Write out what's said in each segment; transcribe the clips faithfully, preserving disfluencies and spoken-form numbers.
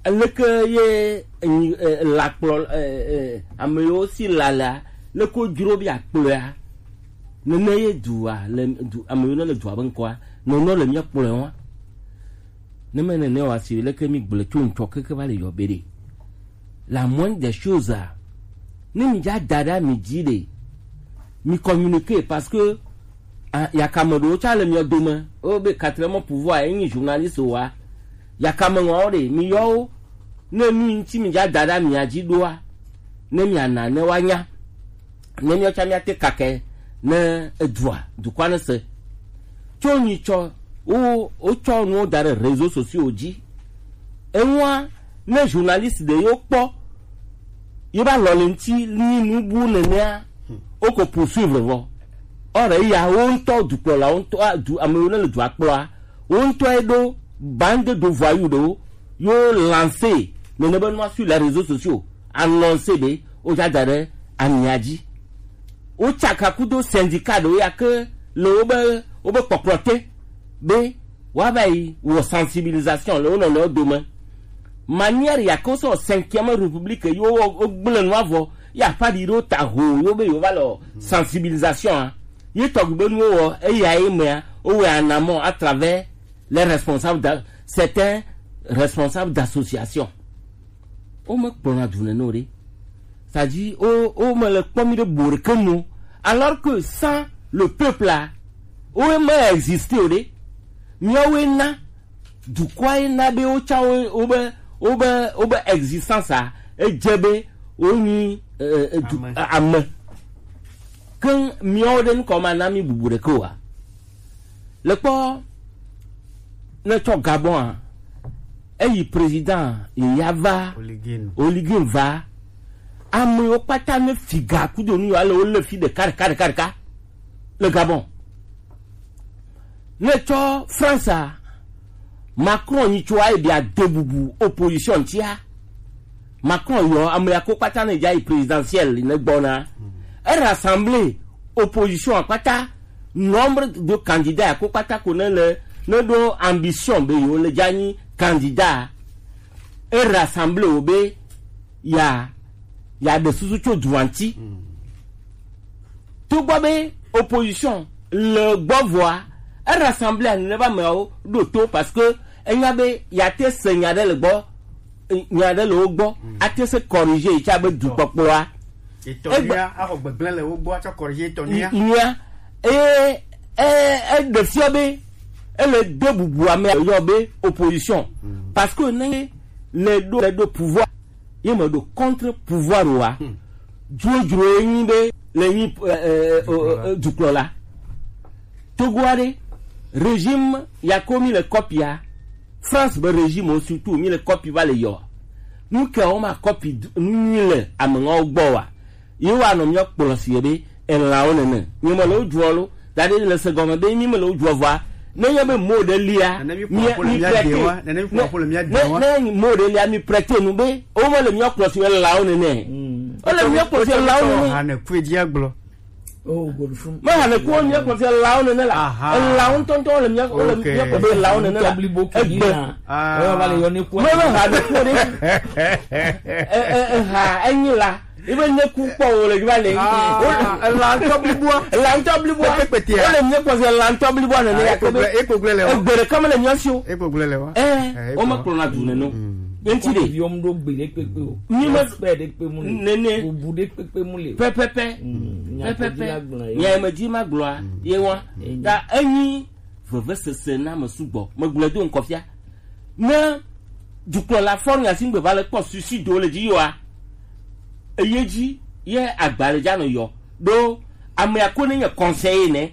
Leke ye, eh, la kplɔ, eh, eh, ame yiwo si la lea, leke wojro be akplɔea, nene ye dua le du, ame yiwo ne le dua be ŋkɔa, nene le mía kplɔe wa. Ne me nene wa si leke mi gblẽ tso ŋtsɔ keke va le yɔ be ɖe. La moindre des choses a, ne mi dza da ɖe mi dzi ɖe, mi communiquer parce que, ah, yakame ɖewo tsã le mia dome. Wo be quatrième pouvoir ye nyi journaliste wa. Yakame ŋɔawo ɖe, mi yɔ wo. Ne nu yi ŋuti mi dza da ɖe mia dzi ɖoa, ne mia na ne wa nya. Ne mia tsã mia te kake ne edua, dukɔa ne se. Tso nyitsɔ, wo, wotsɔ nuwo da ɖe réseaux sociaux dzi. Enua, ne journaliste ɖe yewo kpɔ, ye va lɔ le ŋuti nyi nu bu nenea, wo ko poursuivre vɔ. Or, eya, wo ŋutɔ dukplɔla, wo ŋutɔ, a, du, ame yiwo ne le dua kplɔa, wo ŋutɔ ye ɖo bande de voyous ɖewo, yo lancer nene be nua sur les réseaux sociaux, annoncer be wo dza da ɖe amia dzi. Wotsaka kudo syndicat ɖewo ya ke le wobe, wobe kpɔkplɔ te be woava yi wɔ sensibilisation le wo nɔnɔewo dome. Manière ya ke wosɔ cinquième république yi wo, wogblẽ nua vɔ, ya ƒe aɖi ɖewo ta ho, yo be yewo va le wɔ sensibilisation a. Ye tɔgbi be nuwo wɔ, eya ye mea, wowɔe en amont à travers les responsables d'a-, certains responsables d'association. Wo me kplɔna du nene o ɖe. C'est-à-dire, wo, wo me le kpɔ mi ɖe bo ɖeke nu. Alors que sans le peuple là, wo me existe o ɖe. Miawoe na, dukɔa ye na be wo tsã wo, wobe, wobe, wobe existence a, edze be wonyi, eh, eh, du-, Ame. Ame. Ke miawo ɖe ŋkɔ ma na mi bubu ɖeke oa? Le kpɔ, ne tsɔ Gabon a, eyi président ya va, Oligin. Oligin va, ame yiwo kpata ne figa kudo nu yiwo ale wo le fi ɖeka, ɖeka, ɖeka, ɖeka le Gabon. Ne tsɔ France a, Macron nyi tso ayi bia de bubu opposition tia. Macron yɔ ame ya ko kpata ne dza yi présidentielle ne gbɔna. E rassemble opposition a kpata, nombre de candidats ya ko kpata ko ne le, ne ɖo ambition be yewo le dza nyi candidat. E rassemble wo be ya, ya ɖe susu tso dua ŋuti. Togbɔ be opposition le gbɔ vɔa, e rassemble a nene be ameawo ɖo to parce que enya be ya te se nya ɖe le gbɔ, nya ɖe le wo gbɔ, ate se corriger yi tsa be dukpɔkplɔa. Etɔ nia, axɔ gbegblẽ le wo gbɔ atsɔ corriger etɔ nia. Nia, e, e, e ɖe fia be ele de bubu ame yɔ be opposition. Parce que ne le ɖo, le ɖo pouvoir, ye me ɖo contre pouvoir oa. Dzodzro ye nyi be le nyi, eh, eh, eh, eh, dukplɔla. Togo aɖe, régime ya ko mi le kɔpia, France be régime wo surtout mi le kɔpi va le yɔ. Nu ke wo ma kɔpi du-, nu nyui le ameŋɔwo gbɔ wa. Ye wa nɔ mi kplɔ si be elãwo nene. Mi me le wo dzɔ lo, da ɖe le se gɔme be mi me le wo dzɔ vɔa. Ne nye be mo ɖe lia, mi, mi prête. Ne, ne mo ɖe lia, mi prête nu be, wo me le mi kplɔ si be elãwo nene. Wo le mi kplɔ si elãwo nene. Ha ne kue dia gblɔ. Oh, good fun. Me hã le kuwo nye kpɔtɔ elawo nene la. Aha. Elawo ŋutɔ ŋutɔ le mía, le mía kpɔ be elawo nene la. Egbe. Ah. Eva le yɔ ne kuwo. Me, me hã le kuwo ɖe. E, e, e, ha, enyi la. Ebe ne ku kpɔ wo le va le. Ah, ela ŋutɔ blibua. Ela ŋutɔ blibua. Kpekpetea. Wo le mía kpɔ se ela ŋutɔ blibua nene ya ke be. Ekpogble le wa. Egbe ɖeka me le mía si o. Ekpogble le wa. Eh, wo me kplɔna du nene o. Enti ɖe. Yɔm ɖo gbe ɖe kpekpe o. Mi me. Respect ɖe kpe mu le. Nene. Bubu ɖe kpekpe mu le. Pɛpɛpɛ. Mm, pɛpɛpɛ. Nya me di ma gblɔa, ye wa. Mm. Ta enyi vevesese na me sugbɔ. Me gblɔe do ŋkɔ fia. Ne dukplɔla fɔ nya si ŋgbe va le kpɔ suicide le dzi yoa, eye dzi ye agba le dza nɔ yɔ. Ɖo amea ko ne nye conseiller ne.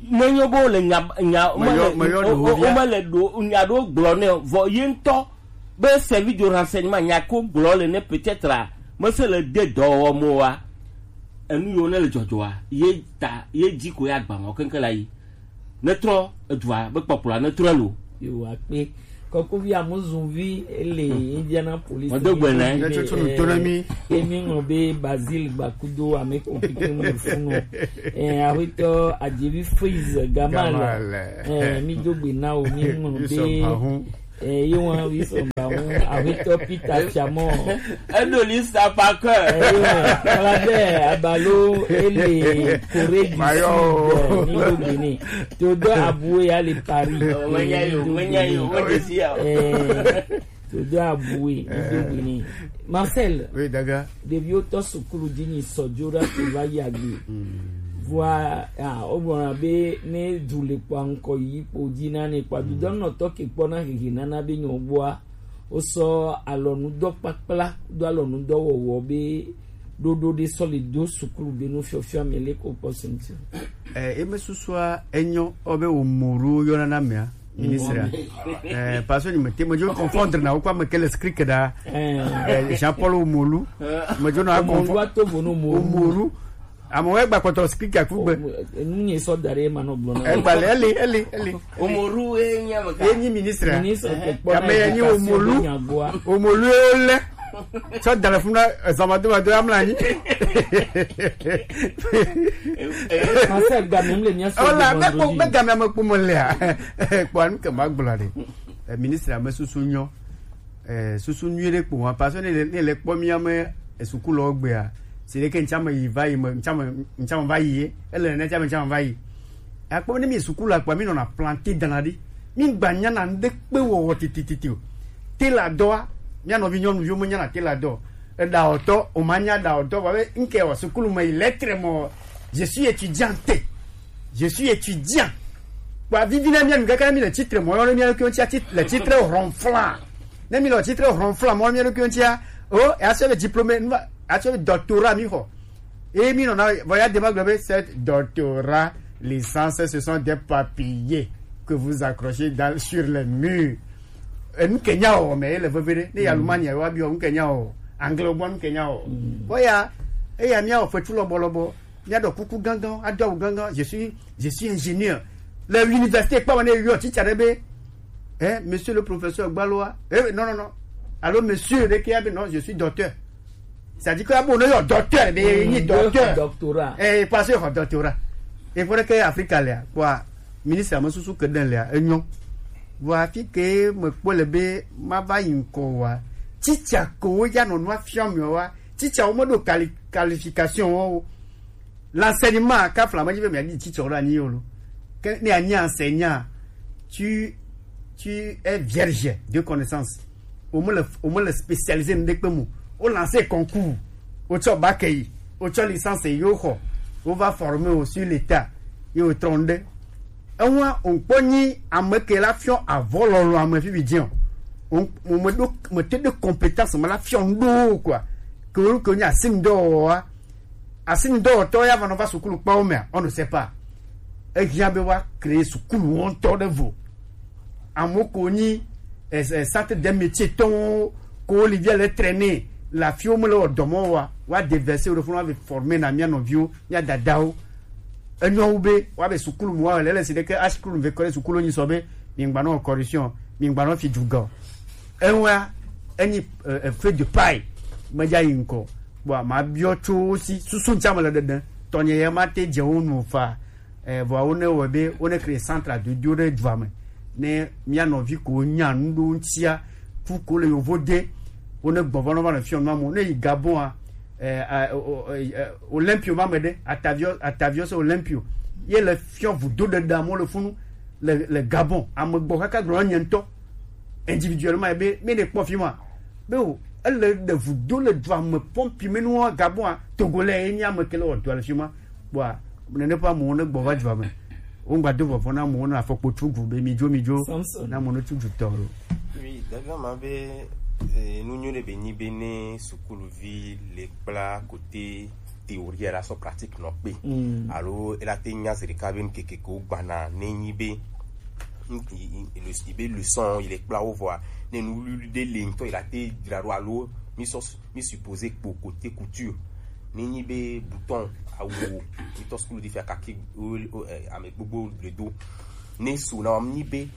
Ne nyo bo le nya, nya, me le, o, o, me le ɖo, nya ɖo gblɔ ne vɔ ye ŋutɔ be service de renseignement nya ko gblɔ le ne peut-être a, mese le de dɔwɔwɔ mo wa, enu yiwo ne le dzɔdzɔa, ye ta, ye dzi ko ya gba ma keŋkeŋ la yi. Ne trɔ edua be kpɔkplɔa ne trɔ elo. Yo, akpe. Kɔkuvi Amuzuvi ele, hmm, Indianapolis. Mɔdo gbe ne. Ne tsotso nu to na mi. Emi ŋlɔ be Basil Gbakudo ame kɔmputer mu le funu. Eh, aƒetɔ Adjevi Freeze Gamal. Gamal. Eh, mi do gbe na o, mi ŋlɔ be. Eh, ye wa wi sɔ Àwọn àwítọ́ Peter Fiamọ́. Edo lista par cœur. Ẹ̀yọ́ Kalabẹ́ Abalo ele Corée du Sud ní Lobini. Todo Aboué ale Paris. Wọ́n yá yòó, wọ́n yá yòó, wọ́n dé sí yà. Todo Aboué ní Lobini. Marcel. Oui, Daga. Ɖeviwo tɔ sukulu dzi nyi sɔdzo ɖa ko va yi agbe. Vɔa, ah, wogblɔna be ne du le kpɔa ŋkɔ yi kpo dzi na ne kpɔa dudɔnɔtɔ ke kpɔna hehe nana be nyɔ gbɔa wosɔ alɔnudɔkpakpla do alɔnudɔwɔwɔ be ɖoɖo ɖe sɔ le do sukulu be nu fiɔfiɔ me le ko kpɔ sɛnti. Eh, eme susua enyo obe Umaru yɔna na mea ministre. Eh, parce que ni mete mejo confondre na kwa me kele script da. Eh, Jean-Paul Umaru. Mejo na Umaru ato vono Umaru. Amo egba kɔtɔ script akugbe. Enu nye sɔ da ɖe ma nɔ gblɔ na. Egba le eli eli eli. Umaru e nya me ka. Enyi ministre. Ministre ke kpɔ. Kame enyi Umaru. Umaru e ole. Tsɔ da le funu na, eh, zɔmɔdodo amla anyi. Français gba mi le mia sɔ. Ola, me ko, me ga mi ame kpɔ mo lea. Kpɔ anu ke ma gblɔ ɖe. Eh, ministre ame susu nyɔ. Eh, susu nyui ɖe kpɔ wa, parce que ne le, ne le kpɔ mi ame, eh, sukulu gbea. Si ɖe ke ŋtsame yi va yi me, ŋtsame, ŋtsame va yi ye. Ele ne ŋtsame, ŋtsame va yi. Akpɔ ne mi sukulu akpa mi nɔna planter dana ɖi. Mi gba nyana ŋɖe kpe wɔwɔ titititi o. Tela dɔa, mia nɔvi nyɔnuviwo me nyana tela dɔ. Eɖa ɔtɔ, o ma nya ɖa ɔtɔ, vɔ be ŋke wɔ sukulu me yi lettre mɔ, je suis étudiante. Je suis étudiant. Kpa vivi na mia nu kaka mi le titre mɔ, ne mia ɖokuiwo ŋutia, tit-, le titre ronflant. Ne mi le titre ronflant mɔ, mia ɖokuiwo ŋutia, o, e asɔ be diplôme, nu va, asɔ be doctorat mi xɔ. Et mi nɔna, vɔ ya dema gblɔ be, c'est doctorat, licence, ce sont des papiers que vous accrochez dans, sur les murs. Eh, nu ke nya o, mais ele veve ɖe. Ne ya Lumania wa biɔ, nu ke nya o. Anglais gbɔ nu ke nya o. Bon ya, eya mia o fetu lɔbɔ lɔbɔ. Mia ɖɔ kuku gangan, ado awu gangan. Je suis, je suis ingénieur. Le université, kpa wane yo teacher ɖe be, eh, monsieur le professeur Gbaloa. Eh, non, non, non. Allô, monsieur, de qui? Non, je suis docteur. C'est-à-dire que abo no yo docteur, be ni docteur. Doctorat. Eh, parce que doctorat. Il faudrait que Africa lea, quoi, ministre ame susu ke ɖe lea, enyo. Vɔ afi ke me kpɔ le be ma va yi ŋkɔ wa. Teacher ko wo ya nɔ nua fiɔ mi wa. Teacher wo me ɖo quali-, qualification wo. L'enseignement, ka fla me dzi be mia di teacher wo ɖo anyi yo lo. Ke ne anyi enseignant, tu, tu es vierge de connaissance. Wo me le, wo me le spécialisé ŋɖe kpe mo. Wo lancer concours. Wo tsɔ bac yi. Wo tsɔ licence yi, wo xɔ. Wo va former wo sur l'état. Ye wo trɔ ŋɖe. Ewa, wo kpɔ nyi ame ke la fiɔ avɔ lɔlɔ ame fifi dzi o. Wo, wo me ɖo, me te ɖe compétence me la fiɔ ŋɖo o, quoi. Ke wo, ke wo nyi asinudɔwɔwɔa. Asinudɔwɔtɔ ya va nɔ va sukulu kpawo mea, on ne sait pas. Ehiã be wa créer sukulu wo ŋutɔ ɖe vo. Amewo ko nyi, eh, eh, centre des métiers tɔwo ko wo li via le traîner le afi wo me le wɔ dɔ mɔ wa, wa déverser wo ɖe funu wa be former na mia nɔviwo, mia dadawo. Enyɔ wu be wa be sukulu mu wa le le si ɖe ke a sukulu ve kɔ ɖe sukulu nyi sɔ be mi ŋgba nɔ corruption, mi ŋgba nɔ fi dugɔ. Ewa, enyi, eh, eh, feu de paille. Me dza yi ŋkɔ. Bon, ma biɔ tso wo si, susu ŋtsa me le ɖeɖe. Tɔnye ye ma te dze wo nu fa. Eh, vɔa wo ne wɔ be, wo ne créer centre de Dieu ɖe dua me. Ne mia nɔvi ko nya nu ɖo ŋtia, ku ko le yovo de, wo ne gbɔvɔ nɔ va le fiɔ nua mo. Ne yi Gabon a, eh, a, o, o, eh, eh, Olympio ma me ɖe, Atavio, Atavio se Olympio. Ye le fiɔ vudo ɖe ɖa mo le funu le, le Gabon. Ame gbɔ kaka gblɔ nye ŋutɔ. Individuellement, ebe, mi ne kpɔ fi ma. Be o, ele ɖe vudo le dua me pɔmpi me nua Gabon a, Togolais ye nye ame ke le wɔ dua le fi ma. Bua, nene ƒe amewo ne gbɔ va dua me. Wo ŋgba do vɔvɔ na amewo ne afɔkpo tsu gu be mi dzo, mi dzo. Samson. Na amewo ne tsu gu tɔ lo. Oui, dada ma be, eh, nu nyuie ɖe be nyi be ne sukuluvi le kpla kote théorie la sɔ pratique nɔ kpe. Mm. Alo ela te nya zi ɖeka be nu keke ko gbana ne nyi be, mm, i, i, i, i be leçon yi le kpla wo vɔa, ne nu wuliwuli ɖe le ŋutɔ yi la te dzra ɖo alo mi sɔ, mi supposé kpo côté couture. Ne nyi be bouton awu mi tɔ sukulu di fia kaki o, o, eh, ame gbogbo le do. Ne su na mi nyi be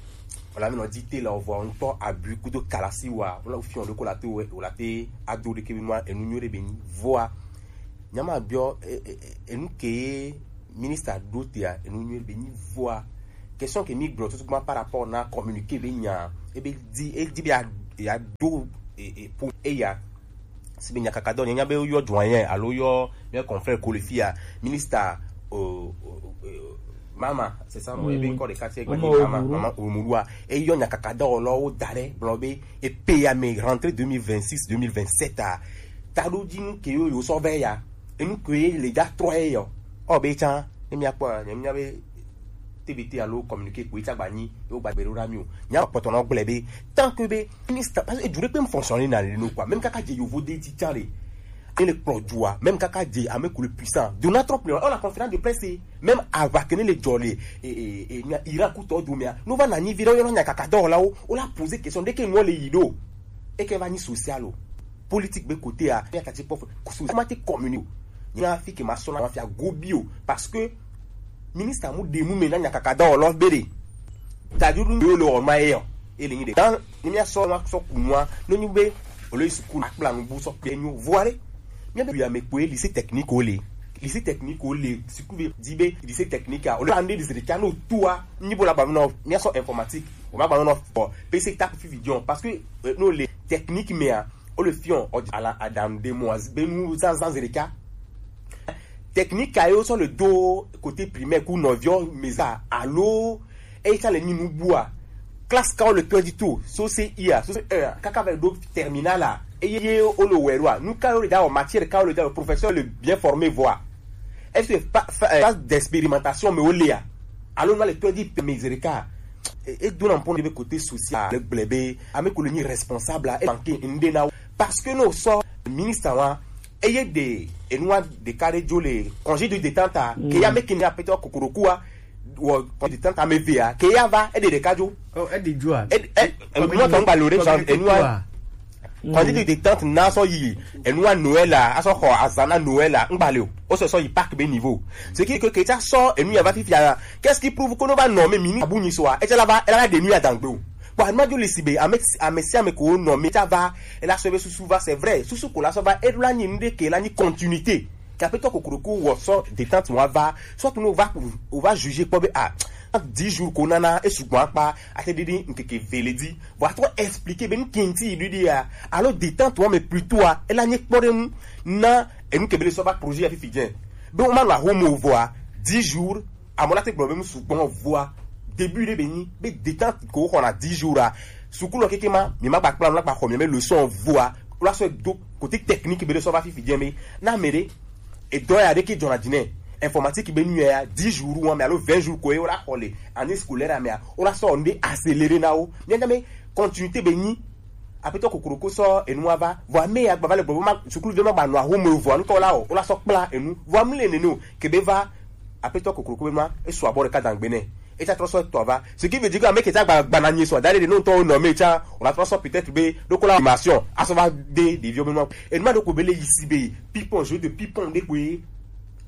wala mi nɔ di te la o vɔa ŋutɔ abui kudo kalasi wa wala fiɔ ɖe ko la te o, o la te ado ɖe ke be nua enu nyuie ɖe be nyi vɔa. Nyama biɔ, e, e, e, enu ke ministre ɖo tea, enu nyuie be nyi vɔa. Question ke mi gblɔ tutugbã par rapport na communiqué be nya, ebe di, e di be a, ya do e, e, po eya. Si be nyakaka dɔ, nya be yɔ doyen alo yɔ mia confrère ko le fia, ministre, euh, euh, euh, mama, c'est ça, moi, ebe encore de quartier, mama Omuru. Mama Omuru a, e yɔ nyakaka dɔ lɔ wo da ɖe, blɔ be e pe ya me rentrée deux mille vingt-six, deux mille vingt-sept a, ta ɖo dzi nu ke yo yo sɔ vɛ ya, enu ke le dza trɔ ye yɔ, ɔ be tsan, ne mia kpɔ, ne mia be T B T alo communiqué ko etsa gba nyi, yo gba gbe ɖo na mi o. Nya kpɔtɔ nɔ gblɛ be, tant que be ministre, parce que edu ɖe kpe fonctionner na le no quoi. Même kaka dze yovo de ti tsa le. Et le kplɔ dua, même kaka dze ame ko le puissant. Donald Trump, on a conférence de presse, même avant que ne le djole, et, et, et, Iran ku tɔ du mea. No va na nyi vi ɖe, yo nya kaka dɔ la o, o la poser question, de ke no le yi do. E ke va nyi social o. Politique be côté a, ya ta ti pɔf, kusu, ma ti communiqué. Nya fi ke ma sɔ na ma fi agobi o, parce que ministre mu de mu me na nyakaka dɔ lɔ be de. Ta du du yo le o ma e o. E le nyi de. Dan, ni mi asɔ ma sɔ kunua, no nyi be, o le sukulu akpla nu bu sɔ pe nyo. Voilà. Mi be ya me ko lycée technique o le. Lycée technique o le, sukulu be, di be, lycée technique a, o le ande di se de ka no tua, ni bo la ba no, mi asɔ informatique, o ma ba no, bon, P C ta fi vision, parce que, euh, no le technique me a, o le fion, o ala adam de mo, be nu zan zan zereka. Technique a yo sur le dos, côté primaire, ku novio, meza, alo, e ka le ni nu bua. Classe ka o le twenty-two, so C I a, so C E a, kaka ve do terminal a, e ye o le wɛ wa. Nu ka o le da o matière, ka o le da o professeur le bien formé voix. Est-ce que pas, pas, euh, pas d'expérimentation, mais o le a. Alo, na le twenty pe mezereka. E, e do na pon de côté social, le gblɛ be, ame ko le ni responsable, e manqué nde na. Parce que no so ministre wa, eye de, enua de carré jo le congé de détente a, ke ya me ke ni apetɔ kokoroku a, wɔ congé de détente a me ve a, ke ya va, e de de ka jo. Oh, e de jo a. E, e, e, enua tɔ ngba lo de sa, enua. Congé de détente na sɔ yi, enua Noël a, asɔ xɔ azana Noël a, ngba le o. O sɔ sɔ yi Pâques be niveau. Ce qui que, que ça sort, enu ya va fifia. Qu'est-ce qui prouve que no va nommer mini abu ni soa, et là va, elle a des nuits à dangbe. Bon, anu ma jo le si be, ame, ame si ame ko nommer, ça va, elle a sauvé sous va, c'est vrai. Sous ko la so va, elle la ni nde ke la ni continuité. Kapetɔ kokoroku wɔ sɔ détente mo va, soit no va, o va juger kpɔ be, ah, dix jours ko nana, e sugbɔn akpa, ate didi nkeke veledi. Vɔ atrɔ expliquer be nu kinti yi didi a, alo détente wa me plutôt a, ela nye kpɔ ɖe nu na enu ke be le sɔ va projet ya fifi dze. Be o ma nɔ ahomo vɔa, dix jours, amɔ la te gblɔ be nu sugbɔn vɔa, début ɖe be nyi, be détente ko xɔna dix jours a, sukulu keke ma, mi ma gba kpla nu la gba xɔ mi me leçon vɔa, o la sɔ do côté technique be le sɔ va fifi dze me, na me ɖe, edɔ ya ɖe ke dzɔna dzi nɛ. Informatique be nu ya, dix jours wa me alo vingt jours ko ye o la xɔ le année scolaire a me a, o la sɔ nde accélérer na wo. Mi nya me continuité be nyi. Apetɔ kokoroko sɔ enu wa va. Vɔ ame ya gba va le gbɔ ma sukulu ve ma gba nɔ ahomo vɔ anu tɔ la o. O la sɔ kpla enu. Vɔ ame le nene o. Ke be va apetɔ kokoroko be ma e sɔ abɔ ɖeka dangbe nɛ. E tsa trɔ sɔ tɔ va. Ce qui veut dire que ame ke tsa gba gba na nyi sɔ da ɖe no tɔ nɔ me tsa. O la trɔ sɔ peut-être be ɖo ko la formation. Asɔ va de ɖeviwo be nɔ. Enu ma ɖo ko be le yi si be ping-pong, jeu de ping-pong ɖe ko ye.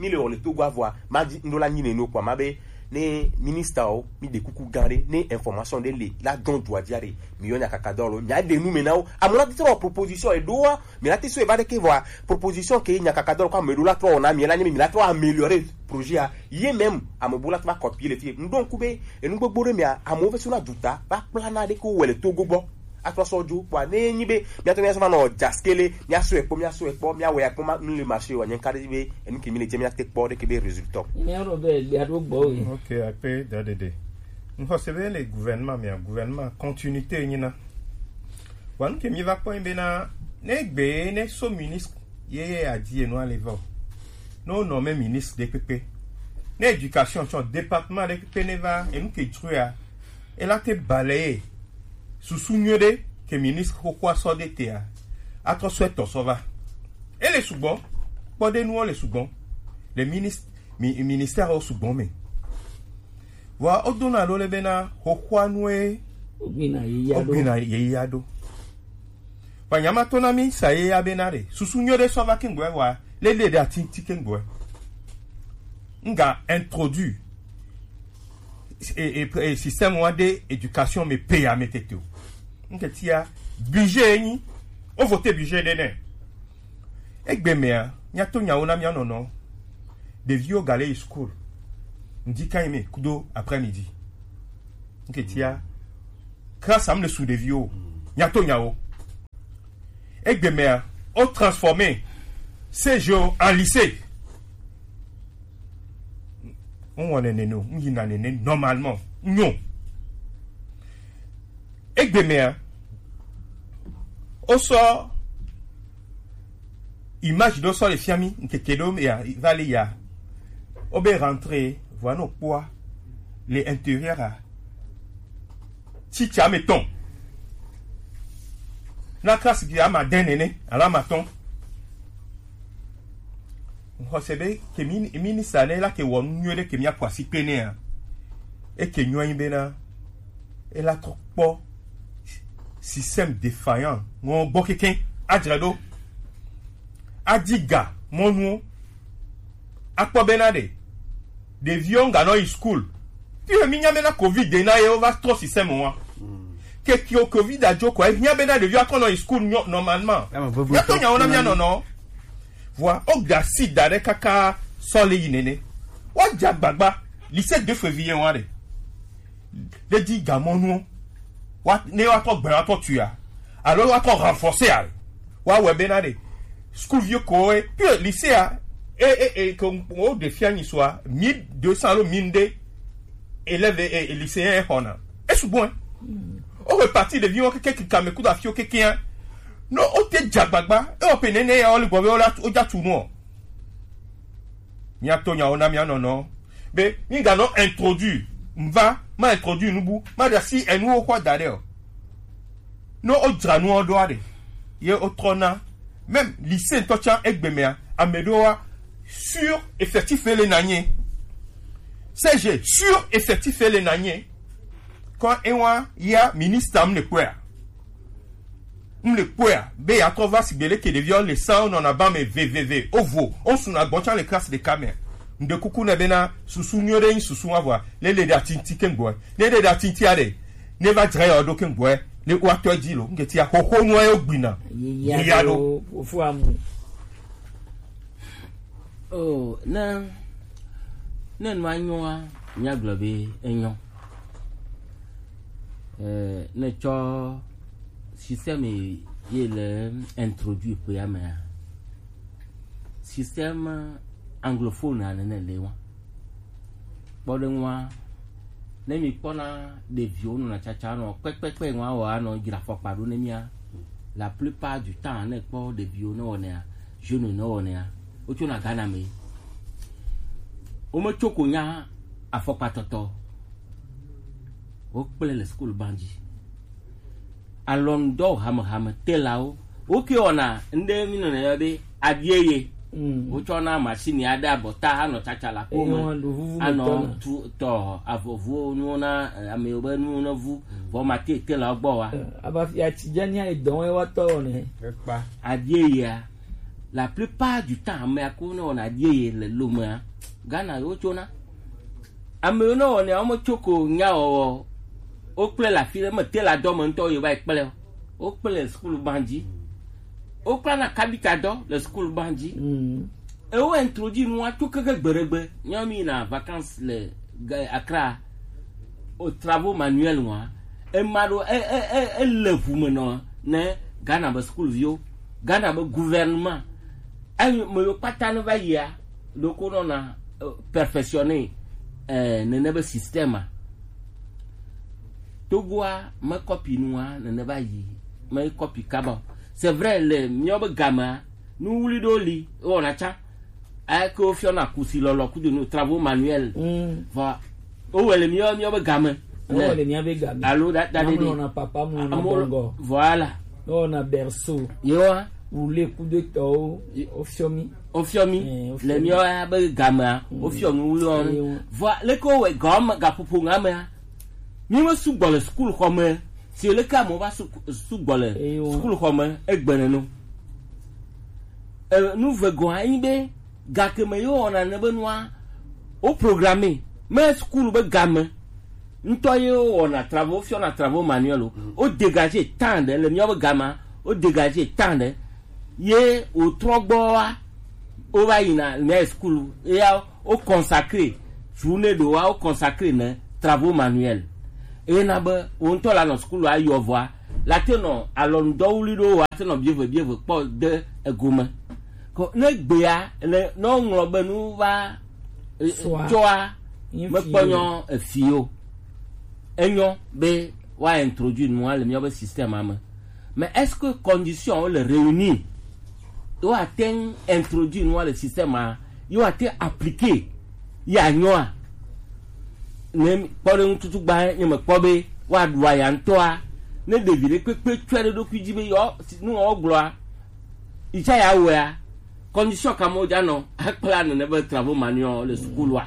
Mi le wɔ le Togo avɔa, ma di ŋɖo la nyi ne no kpɔ ma be ne ministre o, mi de kuku gã ɖe, ne information ɖe le la dɔn dua dia ɖe, mi yɔ nya kaka dɔ lo, mia de nu me na wo. Amu la trɔ proposition e ɖo wa, mi la te so e va ɖe ke vɔa, proposition ke nya kaka dɔ lo kɔ ame ɖo la trɔ na mi la nye mi la trɔ améliorer projet a. Ye même ame bu la trɔ copier le fi. Ŋɖo ŋku be enu gbogbo ɖe mia, amewo ve so na duta, va kpla na ɖe ko wɔ le Togo gbɔ. Atrɔ sɔ dzo kpɔa ne nyi be miatɔ miasɔ va nɔ dzaskele, miasɔ ekpɔ, miasɔ ekpɔ, miawɔ ya kpɔ ma nu le marché wa nye ka ɖe be enu ke mi le dze miate kpɔ ɖe ke be résultat. Miaɖo be gbea ɖo gbɔ o. Ok, akpe dadede. Ŋxɔ se be le gouvernement mia, gouvernement continuité nyina. Wa nu ke mi va kpɔ be na ne gbe ne so ministre ye ye adi enu ale va o. No nɔ me ministre de kpekpe. Ne éducation tsɔ département de kpekpe ne va enu ke dzroa, ela te balayer susu nyuie ɖe ke ministre xoxoa sɔ ɖe tea, atrɔ sɔ etɔ sɔ va. Ele sugbɔ, kpɔɖenuwo le sugbɔ, le minis-, mi-, ministère wo sugbɔ me. Vɔa wodona ɖo le bena xoxoa nue wogbina yeyea ɖo. Wogbina yeyea ɖo. Vɔa nya ma to na mi sa yeyea bena ɖe susu nyuie ɖe sɔ va kengbe vɔa le le ɖe ati ŋti kengbe. Nga introduire e, e, e, système wa de éducation me pe ya me tete o. Nke tia budget enyi, o voter budget de ne. Egbe mea, nya to nyawo na mia nɔnɔ. Ɖeviwo ga le yi school. Ndi kan me kudo après-midi. Nke tia, grâce à me le sous ɖeviwo. Nyato nyawo. Egbe mea, o transformer C G O en lycée. N wɔnɛ nene o, n yina nene normalement. N nyo. Egbe mea, o sɔ image ɖo sɔ le fiami, nkeke ɖo ya, va le ya. O be rentrer, voilà no kpɔa, le intérieur a. Tsitsa me tɔn. Na classe gi ama dɛn nene, ala ma tɔn. Xɔse be ke mi, mi ni sa ne la ke wɔ nu nyuie ɖe ke mi akɔ asi kpe ne a. E ke nyuie anyi be na, e la trɔ kpɔ système défaillant ŋɔ gbɔ keke, adzra ɖo. Adi ga mɔnuwo. Akpɔ bena ɖe ɖeviwo ŋga nɔ yi school. Fi he mi nya bena covid ɖe na ye wo va trɔ système wa. Ke kio covid a jo kɔ, e hiã bena ɖeviwo atrɔ nɔ yi school nyɔ normalement. Ame bubu ya to nyawo na mia nɔnɔ. Vɔa o ga si da ɖe kaka sɔ le yi nene. Wa dza gbagba lycée de février wa ɖe. Ɖe di gamɔnuwo. Wa ne wa tɔ gbɛ wa tɔ tuya. Alo wa tɔ renforcer a. Wa wɛ bena ɖe. School vieux ko e. Puis lycée a. E e e ko o de fia ni soit mille deux cents alo mille deux. Élèves et, et lycéens e hona. E sugbon e. O reparti de viwo keke kika me kuda fio keke a. No o te dza gbagba. E o pe nene ya o le gbɔ be o la o dza tu no. Mia to nyawo na mia nɔnɔ. Be mi ga nɔ introduire. Mva ma introduire nubu ma da si enu wo kwa da ɖe o. No o dzra nu o ɖo aɖe. Ye o trɔ na. Même lycée ŋutɔ tsa egbe mea, ame ɖewo wa sur effectif le na nye. C G sur effectif le na nye. Quand e wa ya ministre am ne kpɔa. M le kpɔa be ya trɔ va sigbe leke ɖeviwo le san nɔna ba me veveve o vo o suna gbɔn tsa le classe ɖeka me. Ŋɖe kuku ne bena susu nyuie ɖe nyi susu wa vɔa le le ɖe atinti ke ŋgbɔe ne ɖe ɖe atinti aɖe ne va dzra ya ɖo ke ŋgbɔe le wa tɔ dzi lo ŋgeti ya xoxo nua yo gbina. Yiya ɖo. Fofo amu. Oh, ne ne nua nyɔa, míagblɔ be enyɔ. Eh, ne tsɔ système ye le introduit ƒea mea, système anglophone ane ne le wa. Kpɔɖeŋua, ne mi kpɔna ɖeviwo nɔna tsatsa nɔ kpɛkpɛkpɛ ŋua wɔ anɔ dzra fɔkpa ɖo ne mia, la plupart du temps ne kpɔ ɖeviwo ne wɔnɛa, jeune ne wɔnɛa, wotsona Ghana me. Wometsoko nya afɔkpatɔtɔ. Wokplɛ le school ban dzi. Alɔnudɔ hamehame telawo. Woke wɔna ŋɖe mi nɔnɔ yɔ be abieye. Mm. Wotsɔna machine aɖe abɔta anɔ tsatsa la kome. Eye woaɖu vuvu anɔ metɔna. Tu tɔ avɔvuwo nuwo na eh, ame yiwo be nuwo ne vu. Mm. Vɔ mate telawo gbɔ wa. Eh, aba fia tsi dze nia edɔ wɔn wa tɔ wɔnɛ. Ekpa. Abieyea, la plupart du temps, amea ko ne wɔna abieye le lomea, Ghana yewo tsona. Ame yiwo ne wɔnɛ, wome tsoko nya wɔwɔ. Wokplɛ le afi ɖe, mete le adɔ me ŋutɔ, yewo va yi kplɛ o. Wokplɛ le school ban dzi. Wokpla na kabita dɔ le school ban dzi. Mm. Ewo introduit nua tso keke gbeɖegbe. Nyɔ mi yina vacances le Ga- Accra. O travaux manuels nua. Ema ɖo e e e e le ʋu me nɔ ne Ghana be school viwo. Ghana be gouvernement. Ayi me yo kpata ne va yia ɖoko nɔna eh, perfectionner eh, nene be système a. Togoa me copy nua nene va yi me copy kaba. C'est vrai le mio be gamea nu wuli ɖo li wɔna tsa. Eke wofiɔna kusi lɔlɔ kudo nu travaux manuels. Mm. Vɔ wowɔe le mio mio be game. Wowɔe le mia be game. Alo da da de de. Namlɔna papa mu na Amo- bɔngɔ. Voilà. Wowɔna berceau. Yewa. Wule kudo tɔwo. Ye- Wofiɔ mi. Wofiɔ mi. Eh, wofiɔ Le mi. Mio ya be gamea. Mm. Wofiɔ nu wuli wɔn. Yewa. Vɔ leke wowɔe gɔme gaƒoƒo ŋa mea. Mi me sugbɔ le sukulu xɔ me. Si leke amewo va su- sugbɔ le Yewa. Sukulu xɔ me egbe nenu. E, nu ve gɔ̃ anyi be gake me yewo wɔna ne be nua wo programme me sukulu be game ŋutɔ ye wo wɔna travaux fiɔna travaux manuels o. Wo dégager temps ɖe le míawo be gamea wo dégager temps ɖe ye wòtrɔ gbɔ wa wo va yina mía sukulu eya wo consacrer journée ɖewoa wo consacrer ne travaux manuels eye na be wo ŋutɔ la nɔ sukulu ayɔ vɔa la te nɔ alɔnudɔwli ɖo wa te nɔ bieve bieve kpɔ de egome. Ko ne gbea le ne woŋlɔ be nu va e, Sua. Tsɔa Nye mekpɔ fiyo. Nyɔ efi o. Enyɔ be wa introduire nua le míabe système me. Mais est-ce que condition wo le réunir? Wo ate ŋu introduire nua le système a, yo ate appliquer ya nyɔa? Ne kpɔ ɖe ŋututu gba nye mekpɔ be woaɖu aya ŋutɔa, ne ɖevi ɖe kpekpe tsɔe ɖe ɖokui dzi be yɔ nu wɔ gblɔa, itsa ya wɔa, condition ka mo dza nɔ akpla nene be travaux manuels le sukulua?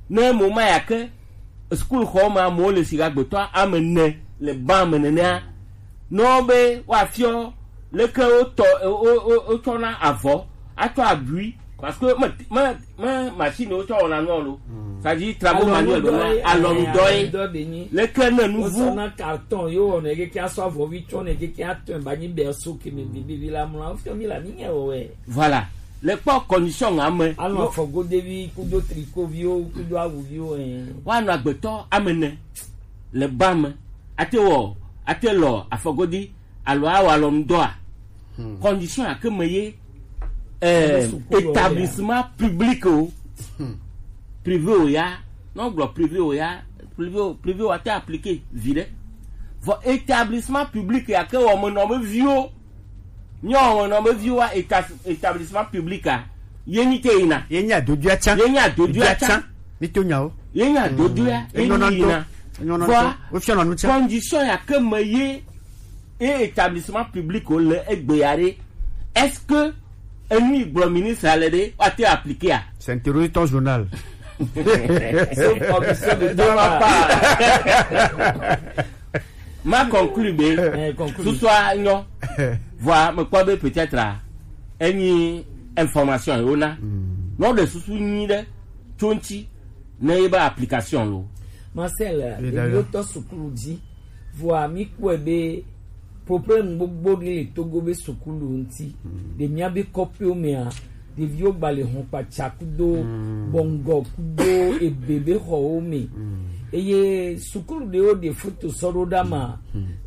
Ne mo ma ya ke sukulxɔ me amewo le si agbetɔ ame ene le ban me nenea, nɔ be woafiɔ leke wotɔ wo- wo- wo- wotsɔna avɔ atsɔ abui, parce que me me me machine wotsɔ wɔna nua lo, c'est-à-dire travaux manuels be ma alɔnudɔ ye. Alɔnudɔ be nyi. Leke ne nu vu Wosɔna carton yo wɔna keke asɔ avɔvi tsɔ ne keke atɔe ba nyi berceau ke me bibi la mla fiɔ mi la mi nye wɔwɛ. Voilà. Le kpɔ condition ame. Alɔ afɔgodevi kudo trikoviwo kudo awuviwo ɛ. Woanɔ agbetɔ ame ene le ba me. Ate wɔ, ate lɔ afɔgodi alo awɔ alɔnudɔa. Condition ake me ye eh, Ame suku lɔ établissement public o. Privé o ya. Non gblɔ privé o ya. Privé o, privé o ate appliquer viɖe. Vɔ établissement public ya ke wɔ me nɔ be viwo. Míawo wɔnɔ be viwoa éta- établissement public a, ye nyi te yina. Ye nyi adodoea tsã. Ye nyi adodoea tsã. Mito nyawo. Ye nyi adodoea, ye nyi yina. Enyɔna ŋutɔ. Enyɔna ŋutɔ. Wofiɔna nu tsã. Condition ya ke me ye e établissement public wo le egbe ya ɖe. Est-ce que enu yi gblɔ ministre le ɖe woate appliquer a? C'est interroger ton journal. Sauf commission de droit. Ma conclure be. Eh, conclure. Susua nyɔ. Vɔa mekpɔ be peut-être a, enyi information ye wona. Nɔ ɖe susu nyui ɖe tso ŋuti ne ye be application lo. Marcel, ɖeviwo tɔ sukulu dzi. Vɔa mi kpɔe be problème gbogbo ɖe le Togo be sukulu ŋuti. Ɖe mía be kɔƒewo mea, ɖeviwo gba le hɔn kpatsa kudo bɔngɔ kudo ebe be xɔwo me. Eye sukulu ɖewo ɖe foto sɔ ɖo ɖa ma.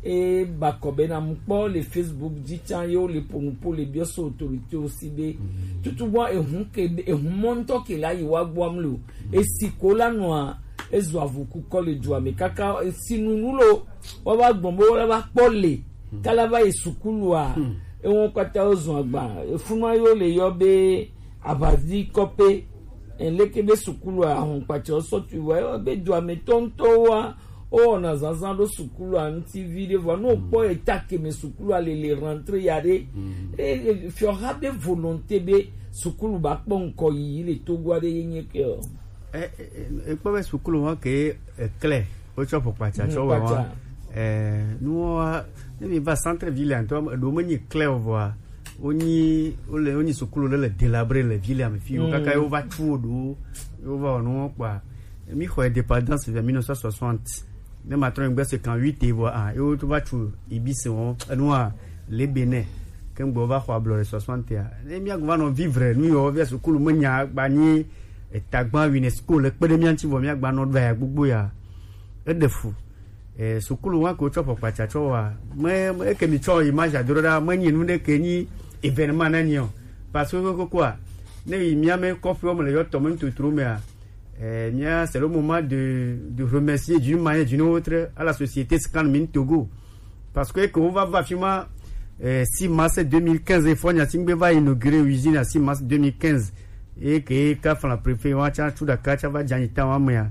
E ba kɔ be na mu kpɔ le Facebook dzi tsã ye wo le ƒo nu ƒo le biɔ so autorité wo si be. Tutu bɔ ehun ke ehun mɔ ŋutɔ ke la yi wa gbɔam lo. Esi ko la nɔa ezu avu kukɔ le dua me kaka esi nunu lo. Wa va gbɔn be wo la va kpɔ le. Kala va yi sukulua. Ewo kpata wo zun agba. Efunua yo le yɔ be abazi kɔpe. Eleke be sukulu ahun kpatsa sɔ tu wa be dua me tɔntɔ wa. O na zanzan ɖo sukulu anti vi ɖe vɔ no kpɔ eta ke me sukulu ale le rentrée ya ɖe. E fiɔ ha be volonté be sukulu ba kpɔ nkɔ yi le Togo aɖe ye nye ke o. E e e kpɔ be sukulu wa ke e klɛ. Wotsɔ ƒo kpatsa tsɔ wɔ wa. Eh, nuwo wa, ne mi va centre ville ŋutɔ, eɖewo menyi clair o vɔa, wonyi, wole, wonyi sukulu ɖe le délabré le ville me fi wo kaka ye wova tu wo ɖo, ye wova wɔ nuwo kpɔa. Mi xɔ indépendance vers mille neuf cent soixante. Ne matrɔ ŋgbe cinquante-huit vɔ, ah, ye wo va tu Ibis wo, enua, le Bénin. Ke ŋgbe wova xɔ ablɔ le soixante a. Ne mi va nɔ vivre, nu yɔ, via sukulu menya gba nyi, etagba UNESCO le kpe ɖe mía ŋuti vɔ mía gba nɔ ɖo ya gbogbo ya. Eɖe fu. Eh, sukulu wa ke wotsɔ ƒo kpatsa tsɔ wa. Me, me, eke mi tsɔ image ado ɖa, me nyi nu ɖe ke nyi événement na nyi o. Parce que koko a, ne yi mía me kɔƒewo me le yɔ tɔ me ntotro mea, eh, mía, c'est le moment de, de remercier d'une manière, d'une autre à la société Scan Mine Togo. Parce que eke wova va fi ma, eh, six mars deux mille quinze, fɔ nya si ŋgbe va inauguré usine a six mars deux mille quinze. Eye ke ka fla préfet wa tsa tu ɖaka tsa va dza nyi ta wa mea.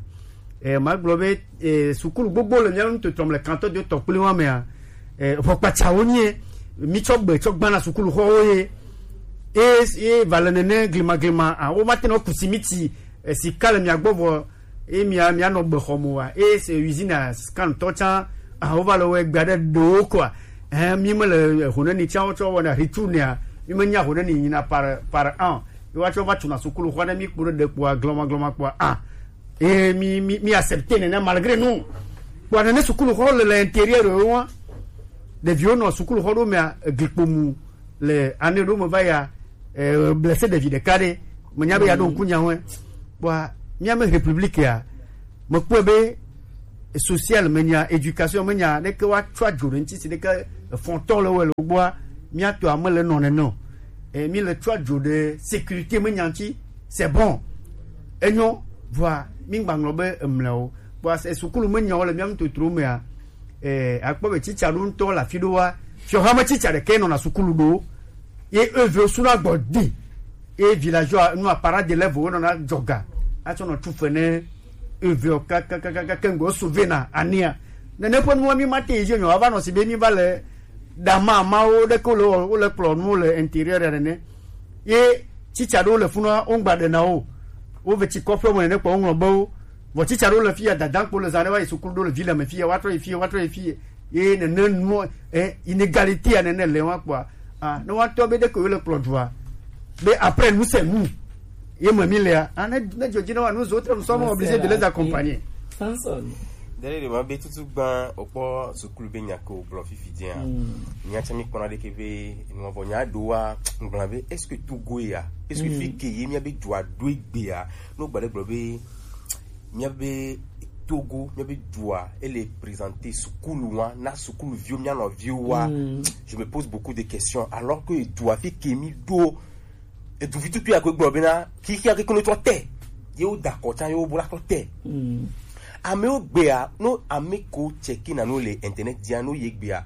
Eh, ma gblɔ be, eh, sukulu gbogbo le mía nu tɔtrɔm le kantɔ de tɔ kpli wa mea. Eh, ʋɔkpatsawo nye, mi tsɔ gbe tsɔ gbana sukulu xɔwo ye. E, e va le nene glima glima, a, wo ma te nɔ ku simiti, eh, sika le mia gbɔ vɔ, e mia, mia nɔ gbe xɔ mo wa. E se usine a scan tɔ tsã, a, wo va le wɔ gbe aɖe ɖewo kɔa. Eh, mi me le, eh, honeni tsã wo tsɔ wɔna retourne a, mi me nya honeni nyina par, par an. Ye woatsɔ va tuna sukulu xɔ aɖe mi kpo ɖe ɖe kpoa glɔma glɔma kpoa, a. Eh, mi, mi, mi accepter nene malgré nous. Kpoa nene sukulu xɔ le le intérieur wo wa. Ɖeviwo nɔ sukulu xɔ ɖo mea, eglikpo mu le année ɖo me va ya, eh, blessé ɖevi ɖeka ɖe. Menya be ya ɖo ŋku nya ŋue. Kpoa mía me république ya, mekpɔe be social me nya, éducation me nya, ne ke wa tsɔ adzo ɖe ŋuti si ne ke fɔntɔ le wɔ le gbɔa, mía tɔ ame le nɔ nene o. E, mi le tsɔ adzo ɖe sécurité me nya ŋuti, c'est bon. Enyo, vɔa, mi gba ŋlɔ be emle o. Vɔa, se sukulu me nya o le mía ŋutotro mea, e, akpɔ be tsitsa ɖo ŋutɔ le afi ɖo wa, fiɔha me tsitsa ɖe ke nɔ na sukulu ɖo. Ye eve suna gbɔ di. Ye villageois nu apara de level wo nɔ na dzɔga. Atsɔ nɔ tsu fe ne eve o kakakaka ke ŋgɔ so ve na ania. Nene ƒe nuwo mi ma te yi dzi nyɔ ava nɔ si be mi va le dama mawo ɖe ke le wo le kplɔ nuwo le intérieur ya nene. Ye tsitsa ɖewo le funua wo ŋgba ɖe na wo. Wo ve tsi kɔƒe me nene kpɔ wo ŋlɔ be wo. Vɔ tsitsa ɖewo le fi ya dada kpo le zã ɖe va yi sukulu ɖo le vi le me fi ya wa trɔ yi fi ya wa trɔ yi fi ya. Ye nene nuwo eh, inégalité ya nene le wa kpɔa. Ah, ne wa tɔ be ɖe ko le kplɔ dua. Be après nous c'est nous. Ye me mi le ah ne ne dzodzi na wa nous autres nous sommes obligés de les accompagner. Samson. Dele de ma be tutu gban okpɔ sukulu be nya ko gblɔ fifi dia. Nya tsa mi kpɔna ɖe ke be nu vɔ nya do wa ngblɔ be est-ce que Togo ya? Est-ce que fi ke ye mia be dua do egbe ya? No gba ɖe gblɔ be mia be Togo mia be dua ele présenter sukulu wa na sukulu viwo mia nɔ viwo wa. Je me pose beaucoup de questions alors que dua fi ke mi do edu vi tutu ya ko gblɔ be na ki ki ke kono trɔ te. Ye wo da kɔ tsa ye wo bo la trɔ te. Amewo gbea no ame ko check na no le internet dia no ye gbea.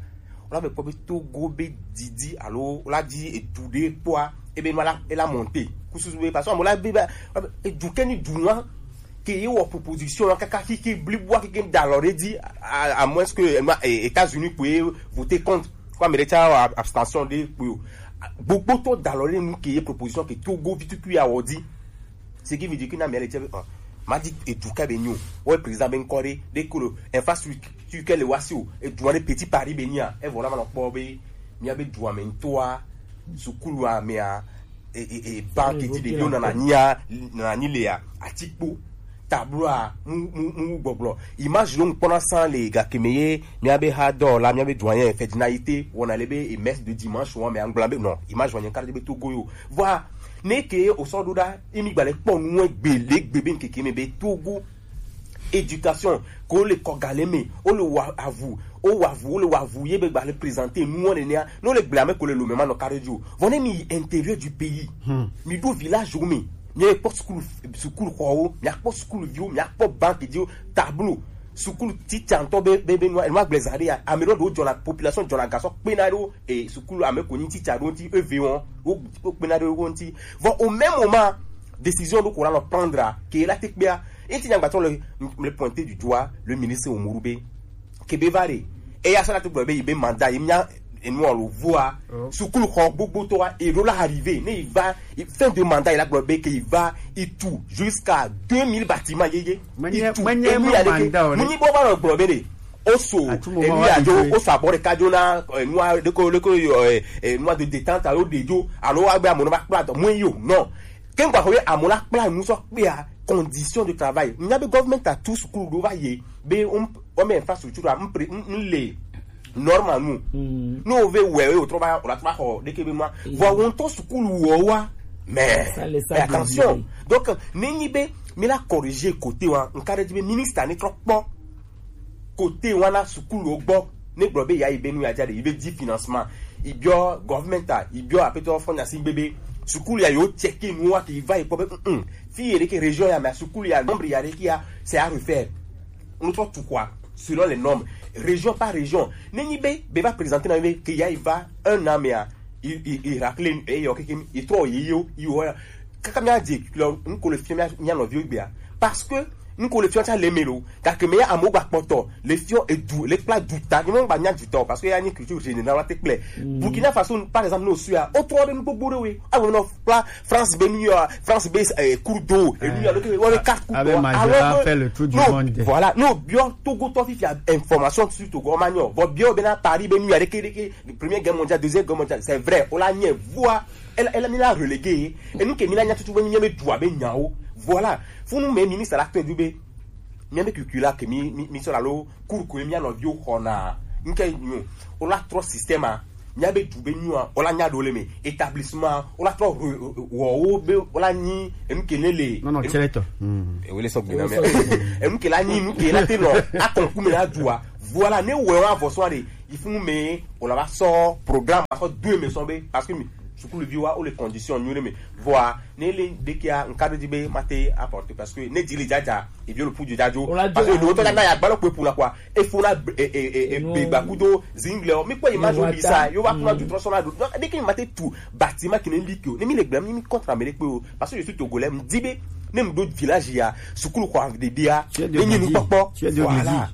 Wola be kpɔ be Togo be didi alo wola di edu ɖe kpɔa ebe nua la ela monte kususu be parce que amewo la be ba edu ke ni du nua ke ye wɔ proposition la kaka kiki blibua kiki da alɔ ɖe di à moins que États-Unis kpoe voter contre ko ame ɖe tsa abstention ɖe kpoe o. Gbogbotɔ da alɔ ɖe nu ke ye proposition ke Togo vi tutu ya wɔ di. Ce qui veut dire que na mele tse be ma di edu ka be nyo wo président be nkɔ ɖe ɖe ko le infrastructure ke le wasi o edu ɖe petit Paris be nia evɔ na ma nɔ kpɔ be mia be du ame ŋutɔa sukulu amea e e e banque ti ɖeviwo nana nyia nana nyi lea atikpo tabloa mu mu mu gbɔgblɔ image ɖo ŋkpɔna san le gake me ye mia be ha dɔ la mia be du anye fedina yi te wɔna le be e messe de dimanche wa me angla be non image wa nye karte be Togo yo vɔa ne ke o sɔ ɖo ɖa imi gba le kpɔ nu egbe le gbe be nkeke me be Togo éducation ko le kɔ gale me o le wa avu o wa avu o le wa avu ye be gba le présenter nu o le nea no le gble ame ko le lo me ma nɔ kare jo vɔ ne mi yi intérieur du pays mi do village o me mi kpɔ sukulu sukulu xɔwo mi kpɔ sukulu viwo mi kpɔ banque diwo tableau sukulu titsa ŋutɔ be be be nua enua gblẽ zã ɖe ya ame ɖewo ɖewo dzɔna population dzɔna gasɔ kpena ɖewo e sukulu ame ko nyi titsa ɖewo ŋuti eve wɔn wo wo kpena ɖewo ŋuti vɔ au même moment décision ɖo ko la nɔ prendre ke la te kpea eti nyagbatɔ le le pointer du doigt le ministre Umaru be ke be va ɖe eya sɔ la te gblɔ be yi be mandat yi nya enua lo voa sukulu xɔ gbogbotɔa eɖo la arrivé ne yi va fin de mandat yi la gblɔ be ke yi va yi tu jusqu'à deux mille bâtiments yeye yi tu enu ya ɖeke mu nyi bɔ va nɔ gblɔ be ɖe o so enu ya dzo o so abɔ ɖeka dzo na enua ɖeko ɖeko enua de détente alo ɖe dzo alo wa be amewo va kpla dɔ mu yi o non ke ŋgba xɔ be amewo la kpla nu sɔ kpea condition de travail nya be government a tu sukulu ɖo va yi be o ɔmɛ infrastructure a mpre nle normal nu n'o ve wɛ o trɔ ba o la trɔ ba xɔ ɖeke be ma vɔ wo ŋutɔ sukulu wɔ wa mais attention donc ne nyi be mi la corriger côté wa nka ɖe dzi be ministre ne trɔ kpɔ côté wa na sukulu wo gbɔ ne gblɔ be ya yi be nu ya dza ɖe yi be di financement yi biɔ government a yi biɔ apetɔ fɔnya si gbe be sukulu ya yi wo check nu wa ke yi va yi kpɔ be mm fi yi ɖeke région ya mɛ sukulu ya nombre ya ɖeke ya c'est à refaire ŋutɔ tu quoi selon les normes région par région ne nyi be be va présenter na be ke ya yi va un an mea i i i racler eyɔ keke i trɔ yi yo i wɔ ya kaka mi adze kple ŋko le fiɔ mia nɔviwo gbea parce que ŋko le fiɔ tsa le me lo gake me ya amewo gba kpɔtɔ le fiɔ edu le kpla du ta ni mo gba nya du ta o parce que ya nyi culture générale te kple Burkina Faso par exemple no suya o trɔ de nu gbogbo de we awo no kpla France be nu ya France be eh, cours d'eau et nu ya le ke wo be quatre cours d'eau alors que no voilà no biɔ Togo tɔ fifia information sur Togo ma nyɔ vɔ biɔ be na Paris be nu ya de ke de ke première guerre mondiale deuxième guerre mondiale c'est vrai o la nye voix elle elle mi la relégué et nous ke mi la nya tutu be mi be dua be nyawo voilà funu me ministre la kpe du be mi be kukui la ke mi mi mi sɔ la lo cours ko mi anɔ viwo xɔna nke nyo o la trɔ système a Mía be du be nyuia, wola nya ɖo le me. Établissement, wola trɔ wɔ wo be wola nyi enu ke ne le. Non, non, enu- c'est le temps. Hmm. E wele sɔ gbena me. Enu ke la nyi, enu ke la te nɔ akɔnku me na dua. Voilà, ne wɔ wa vɔ sɔ de. Il faut me, wola va sɔ programme, va sɔ do me sɔ be, parce que mi sukuluvi wa, o le condition nyuie me. Voilà, ne le de kia, nka do di be ma te apporter, parce que ne di le jaja, e bi le pu jajo. Wola parce que do le to na ya gbalo pe pu la quoi. E fo na e e e e be gba kudo zingle o. Mi ko image o bi sa, yo va kuna du transformer do. Donc dès que mi mate tout bâtiment qui ne lit que, ne mi le gbe mi mi contre Amérique o. Parce que je suis togolais, mi di be ne mi do village ya, sukulu ko de dia, ne ni nu popo. Voilà.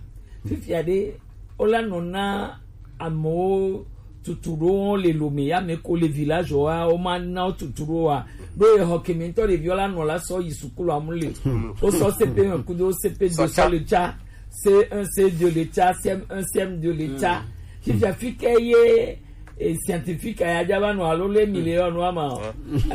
Fifia de, wola nɔ na amewo tutu ɖo le lome ya me ko le village wa, wo ma na wo tutu ɖo wa. Ɖo ye xɔ kemi ŋutɔ ɖeviwo la nɔ la sɔ yi sukulu amu le. Wo sɔ C P un kudo C P deux sɔ le tsa, C un, C deux le tsa, C M un, C M deux le tsa. Fifia fi ke ye, eh, scientifique ya dza va nɔ alo le million nɔ ama o.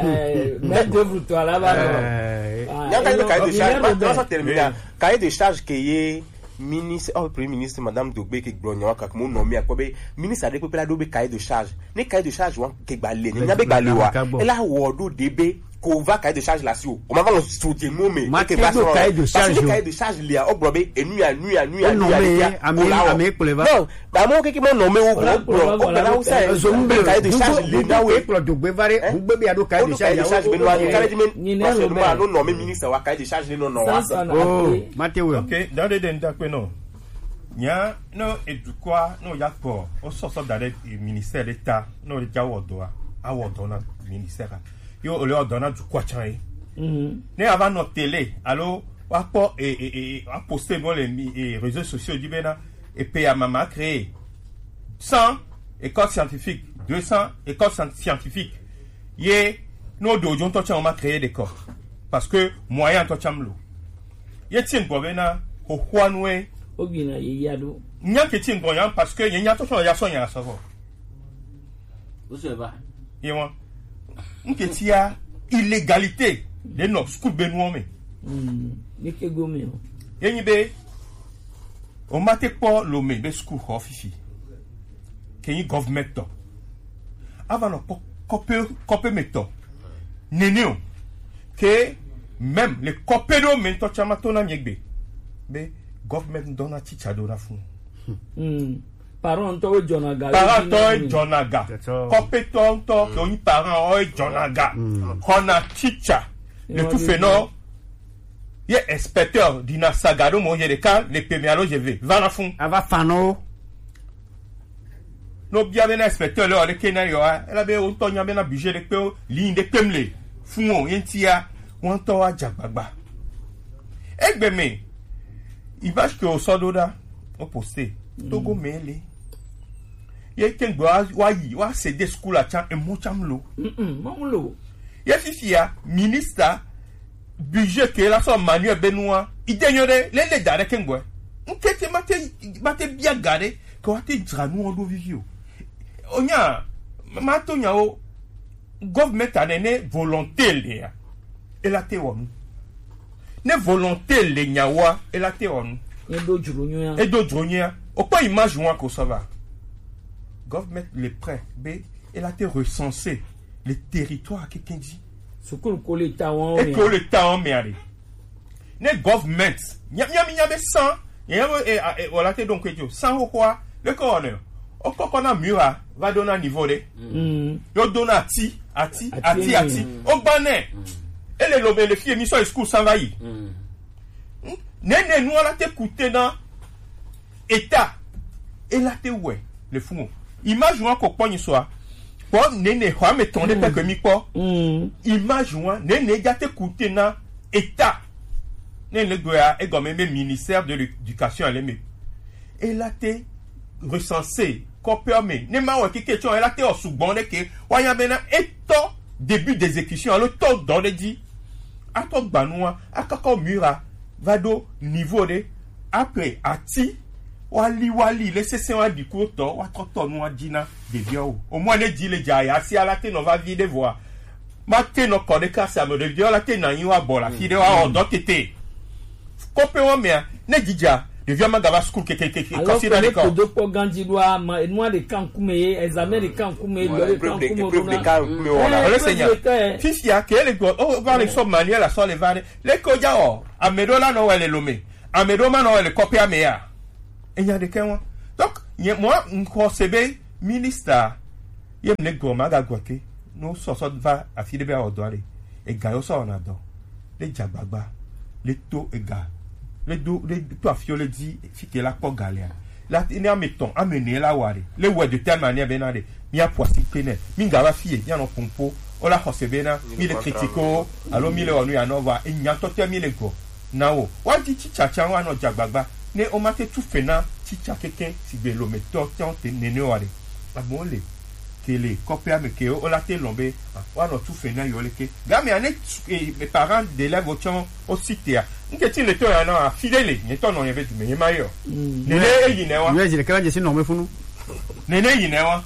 Eh, main d'œuvre tɔ la va nɔ. Eh. Ah, nyaka de cahier de charge, ma, ma sɔ terminer. Cahier de charge ke ye ministre, oh, premier ministre, Madame Dogbe, ke gblɔ nyawo kaka mo nɔ mi akpɔ be ministre aɖe kpekpe la ɖo be cahier de charge. Ne cahier de charge wa ke gba le, ne nya be gba le wa, ela wɔ ɖo de be ko va cahier de charge la si o. O ma va nɔ so je mo me. Ma ke va so cahier de charge. Parce que cahier de charge lia, o gblɔ be enu ya, nu ya, nu ya, nu ya, ame kplɔe va. Non, ba mo keke mo nɔ me wo gblɔ, o gblɔ na wo sa. Zo mbe cahier de charge le na we. Kplɔ Dogbe va re, Dogbe be ya ɖo cahier de charge be no. Cahier de charge be no. Nɔ me ministre wa cahier de charge le nɔ nɔ wa. Oh, Matthew. Ok, dans les derniers, non. Nya no edukɔa no ya kpɔ o sɔsɔ da ɖe ministère ɖe ta no le ja wɔ dɔa, a wɔ dɔ na ministère a. Yo o le wɔ dɔ na dukɔa can ye. Ne a va nɔ télé alo wa kpɔ e e e wa poster bo le mi e réseaux sociaux di bena e pe ya mama créer cent écoles scientifiques, deux cents écoles scien- scientifiques. Ye no do jo ŋutɔ can o ma créer de kɔ. Parce que moyen ŋutɔ can lo. Ye ti ŋgɔ bena xoxoa nue. Ogbina ye ya ɖo. Nya ke ti ŋgɔ ya parce que ye nya tɔ sɔ ya sɔ nya sɔ vɔ. Wo sɔ va. Ye wa. Nke ti ya illégalité de nɔ school be nuɔ me. Mm. Ye ke go me o. Ye nyi be o ma te kpɔ lo me be school xɔ fifi. Ke nyi government tɔ. A va nɔ kpɔ kɔpe kɔpe me tɔ. Nene o. Ke même le kɔpe ɖo me ŋutɔ can ma to na mi egbe. Be government dɔ na teacher ɖo na fun. Mm. Parent ŋutɔ wo jɔna ga. Parent ŋutɔ wo jɔna ga. Kɔpetɔ ŋutɔ ke wo nyi parent wo jɔna ga. Xɔna teacher le tu fe nɔ. Ye inspecteur dina saga ɖo mo ye ɖeka le pe mi alo je ve va na fun. A va fan wo. No bia be na inspecteur le o le ke na yo a. Ela be o ŋutɔ nya be na budget ɖe kpe o, ligne ɖe kpe mle fun o ye ŋuti ya. Wo ŋutɔ wa dza gbagba. Egbe me, image ke o sɔ ɖo ɖa, o poster. Togo me le. Ye ke ŋgbe wa, wa yi, wa se de school a can, emo can lo. Mm-mm, mo mu lo. Ye fifia, ministre, budget ke la sɔ Manuel Benua, ide nyɔ ɖe, le le da ɖe ke ŋgbe. Ŋke te ma te, ma te bia ga ɖe, ke wa te dzra nu o ɖo vivi o. O nya, ma to nya o, government a ne ne volonté le ya. Ela te wɔ nu. Ne volonté le nyawoa, ela te wɔ nu. Edo dzro nyuia. Edo dzro nyuia. O kpɔ image wa ko sɔ va. Government le prêt be ela te recenser le territoire keke dzi. Sukulu ko le ta wɔn. E ko le ta wɔn me are. Ne government nya nya mi nya be san. Nya be e e wala te donc ejo san ho kwa le ko ne. O kɔkɔ na mura va do na niveau de. Mm. Yo do na ati, ati, ati, ati. O gba ne. Ele lo be le fie mi so school san va yi. Mm. Ne ne nu ala te coûter na état. Ela te wɛ le fun o. Image wa ko kpɔ nyi so a. Kpɔ ne ne xɔ ame tɔn de pe ke mi kpɔ. Mm. Image wa ne ne ja te coûter na état. Ne ne gbe a egɔme me ministère de l'éducation ale me. Ela te recenser kɔpɛ me. Ne ma wɔ kike tsɔ ela te o sugbɔn de ke. Wa ya be na etɔ début d'exécution alo tɔ dɔ de dzi. Atɔ gbanua, akɔkɔ mura va ɖo niveau ɖe. Après ati wali wali le sese wa ɖi ku tɔ wa trɔ tɔ nua dzi na ɖeviawo. O mɔ ne dzi le dza ya si ala te nɔ va vi ɖe vɔa. Ma te nɔ kɔ ɖe kasi ame ɖeviawo la te na nyi wa bɔ la fi ɖe wa wɔ dɔ tete. Kɔpɛ wa mea ne dzidza Ɖeviwo ma gava school kekekeke. Alors que kɔsi ɖa ne ɖe kɔ. Kodo kpɔ ganji ɖo ama enua ɖeka ŋkume ye, examen ɖeka ŋkume ye, dɔ ɖeka ŋkume ɖo na. Ole senya. Fifia ke le gbɔ, o va le sɔ manuel asɔ le va ɖe. Le ko ja o, ame ɖo la nɔ wɛ le lome. Ame ɖo ma nɔ wɛ le kɔƒea me ya. Enya ɖekɛ wa. Donc, nye mɔ ŋkɔ se be minister ye mle gɔ ma ga gɔ ke. No sɔsɔ va afi ɖe be awɔ dɔ ɖe. Ega yo sɔ na dɔ. Le dza gbagba. Le to ega. Le do le to afi le di fi ke la kpɔ ga lea. La ne ame tɔn, ame ne la wa ɖe. Le wɛ de telle manière be na ɖe. Mi apu asi pe nɛ. Mi ga va fie, mi anɔ pompo. O la xɔse be na, mi le kritike o, alo mi le wɔ nu ya nɔ va. Enya tɔtɛ mi le gɔ. Na wo. Wa di tsitsa tsa wa nɔ dza gbagba. Ne o ma te tu fe na tsitsa keke sigbe lometɔ tɔn te nene wa ɖe. Amewo le. Ke le kɔƒea me ke o la te lɔn be, ah, woanɔ tu fe na yewo leke. Game ane, eh, parents d'élèves tsɔ o sitea. Nke ti le to ya na afi ɖe le, nye tɔ nɔ nye be dume, nye ma yɔ. Nene eyi nɛ wa. Yɔ zi le kala jesi nɔ me funu. Nene eyi nɛ wa.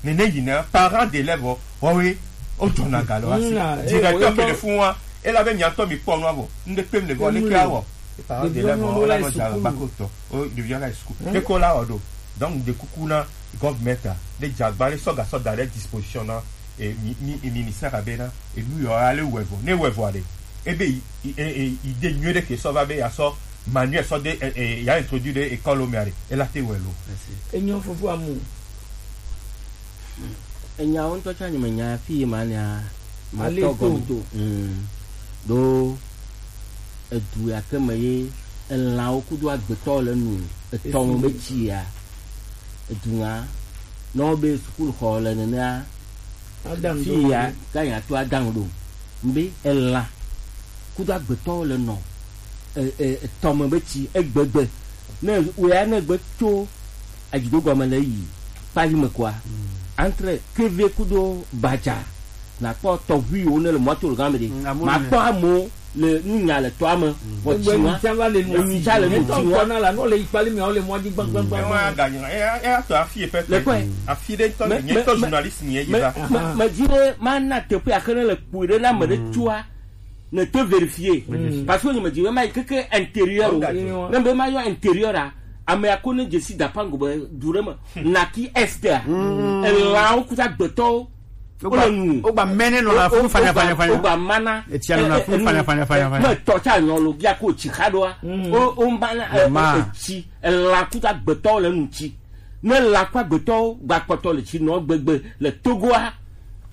Nene eyi nɛ wa. Parents d'élèves o, wɔwe, o jɔna ga lɔ asi. Directeur ke le fun wa, e la be miatɔ mi kpɔ nua bɔ. Nde kpem le bɔ, leke awɔ. Parents d'élèves o, la nɔ dza ba ko tɔ. O, ɖevia la school. Ke ko la wɔ ɖo. Donc, de kuku na government a, ne dze agba le sɔ gasɔ da ɖe disposition na, e, mi, mi, e, ministère a be na, e, nu yɔ ale wɛ vɔ. Ne wɛ vɔ ɖe, ebe, i, i, e, e, idée nyui ɖe ke sɔ va be ya sɔ manuel sɔ de, e, e, ya introduire ɖe école me ɖe, e la te wɛ lo. Enyo fofo amu. Enyawo ŋutɔ tsã nyemenya fi yi mania, matɔ gɔme to. Mm. Ɖo edu ya ke me ye elãwo kudo agbetɔwo le nu, etɔ me be tsi ya. Edu ŋa, ne wobe sukuxɔ le nenea, fi ya ga nya to adaŋ ɖo. Mbe elã kudo agbetɔwo le nɔ, e, e, etɔ me be tsi egbegbe. Ne wòya ne gbe tso adzido gɔme le yi kpali me koa, entre keve kudo badza, nakpɔ tɔʋuiwo ne le mɔto le gã me ɖe. Makpɔ amewo le nunya le tɔa me. Vɔ tsi ma, enyi tsa le nu tsi ma. Tɔ na la no le yi kpali me, wo le mɔ di gbagba gbagba. Ewa ga nyina, e, e, ato afi epe. Le kɔe. Afi ɖe tɔ, nye tɔ journaliste ni ye va. Me, me, me di ɖe ma na teƒe axe ne le kpui ɖe na me ɖe tsoa. Ne te vérifier. Parce que je me dis, ma keke intérieur. Ne be ma yɔ intérieur a, ame ya ko ne je si dapango be du ɖe me. Naki est a. Elãwo kuta gbetɔwo. Wole nu. Wogba mene nɔ la fu fanya fanya fanya. Wogba mana. Etsia nɔ la fu fanya fanya fanya fanya. Me tɔ tsa nyɔ lo bia ko tsi xa ɖoa. O, o mana, e, ma. Etsi, elã kuta gbetɔwo le nu tsi. Ne la kpa gbetɔwo gba kpɔtɔ le tsi nɔ gbegbe le Togoa.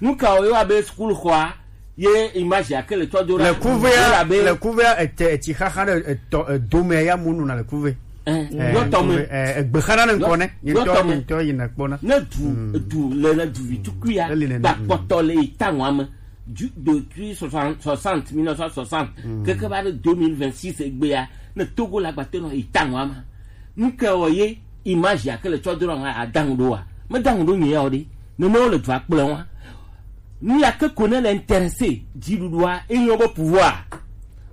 Nu ka wo yɔ abe sukulu xɔa ye image ya ke le tɔ do ɖa. Le kuvea, le kuvea ete etsi xaxa ɖe etɔ edo me ya mu nu na le kuve. Eh, yɔ tɔ me. Eh, egbe xana ne ŋkɔ ne. Yɔ tɔ me. Ŋutɔ yi na kpɔna. Ne du, du le, ne du vi tukui ya. Eli nene. Gba kpɔtɔ le yi ta ŋua me. Du, depuis soixante, soixante, mille neuf cent soixante, keke va ɖe deux mille vingt-six egbe ya, ne Togo la gba te nɔ yi ta ŋua me. Nu ke wɔ ye image ya ke le tsɔ do ɖa ŋa adaŋu ɖo wa? Me daŋu ɖo nye ya o ɖe. Nene wo le dua kple wa. Nu ya ke ko ne le intéressé dziɖuɖua, e nyɔ be pouvoir.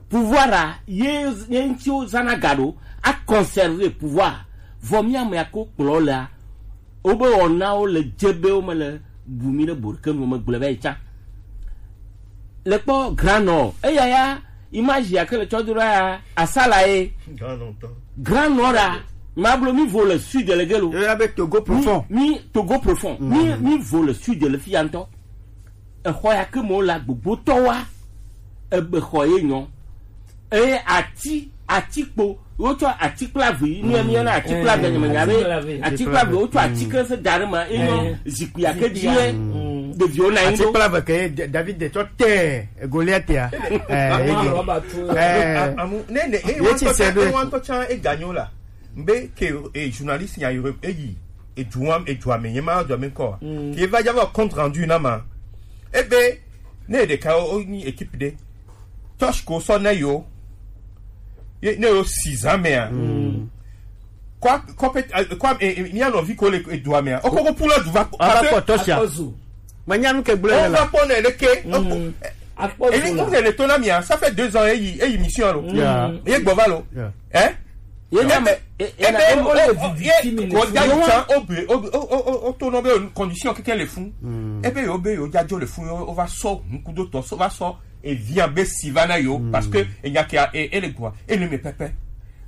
Pouvoir a, ye, ye ŋuti wo zana ga ɖo, a conserver pouvoir. Vɔ mi ame ya ko kplɔ lea, wobe wɔnawo le dze be wo me le bu mi ɖe bo ɖeke nu, megblɔe va yi tsã. Le kpɔ Grand Nord, eya ya, image ya ke le tsɔ do ɖa ya, asala ye. Grand Nord tɔ. Grand Nord a, ma blo mi vo le sud le gelo. Eya be Togo profond. Mi, mi Togo profond. Mi, mi vo le sud le fi ya ŋutɔ. Exɔ ya ke me wo le gbogbotɔ wa, ebe xɔ ye nyɔ. Eye ati, atikpo, wotsɔ atikplavi, nu ya mi yɔna atikplavi, nye menya be atikplavi, wotsɔ ati ke se da ɖe me, ye nyɔ zikpui ya ke dzi ye ɖeviwo na yi ɖo. Atikplavi ke Da-, David de tsɔ te Goliath ya. Eh, ye ke. Eh, amu, ne, ne, ye tsi se be. Ŋutɔ tsã eganyo la. Mbe ke, eh, journaliste nya yore, eyi, edua, edua me, nye ma dua me kɔ. Ke va dza va compte rendu na ma. Ebe, ne ɖeka o, o nyi équipe ɖe. Touch ko sɔ ne yo. Ye, ne yo six ans mea. Kwa, kwa pe, eh, kwa, eh, eh, mia nɔvi ko le, eh, dua mea. O koko pula du va, va kpɔ touch ya. Manya nu ke gblɔ le la. O va kpɔ ne leke. Akpɔ. Eli, o ne le to na mia, ça fait deux ans, eyi, eyi mission lo. Yeah. Ye gbɔ va lo. Yeah. Hein? Ye na me, e, e na ebe, me o, o, ye, ko da yi tsan, o be, o, o, o, o, o to nɔ be o condition keke le fun. Ebe yo be yo dza dzo le fun, yo, o va sɔ hun kudo tɔ, so va sɔ evian be si va na yo, parce que enya ke a, e, e le gua, e le me pɛpɛ.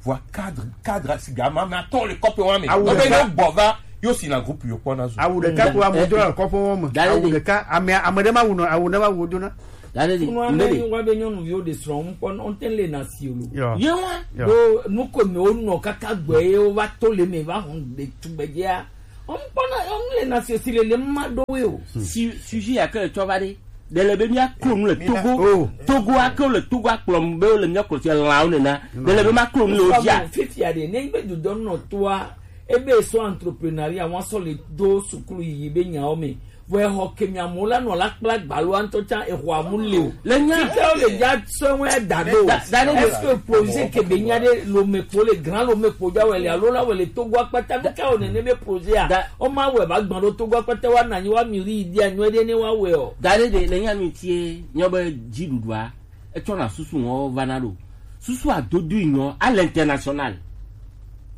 Vɔa cadre, cadre, siga ma, ma tɔ le kɔpe wa me. Awu ɖeka. Ebe ne gbɔ va, yo si na groupe yo kpɔ na zu. Awu ɖeka ko amu do na kɔpe wa me. Awu ɖeka, ame, ame ɖe ma wu nɔ, awu ɖe ma wu do na. Dale di, Kunua ne wa be nyɔnuviwo ɖe srɔ̃ ŋkpɔ, ŋte le na si o lo. Ye wa. Ɖo nu ko me wonɔ kaka gbɛ ye wova to le me va hɔn ɖe tugbedzea. Ŋkpɔ na, ŋle na si o si le le ma ɖo we o. Si, sujet ya ke tsɔ va ɖe. Ɖe le be mía klo nu le Togo. Togo ake le Togo akplɔ be le mía klo si lãwo nena. Ɖe le be ma klo nu le wo dzia. Fifia ɖe, ne be dudɔ nɔ toa, ebe so entrepreneuria, wa sɔ le do sukulu yiyi be nyawo me. Vɔ exɔ ke mia mo la nɔ la kpla gbalo antɔ tsa exɔ amu le o. Le nya. Tike o le dza sɔ wɛ da do. Da, da ɖe. Est-ce que projet ke be nya ɖe lo me kpo le grand lo me kpo dza wɛ le alo la wɛ le Togo akpata mi ka o nene be projet a. Da. O ma wɛ ba gbɔn ɖo Togo akpata wa na nyi wa mi ri di anyo ɖe ne wa wɛ o. Da ɖe ɖe le nya mi tie nyɔ be dziɖuɖua etsɔ na susu ŋɔ va na ɖo. Susu adodo nyɔ à l'international.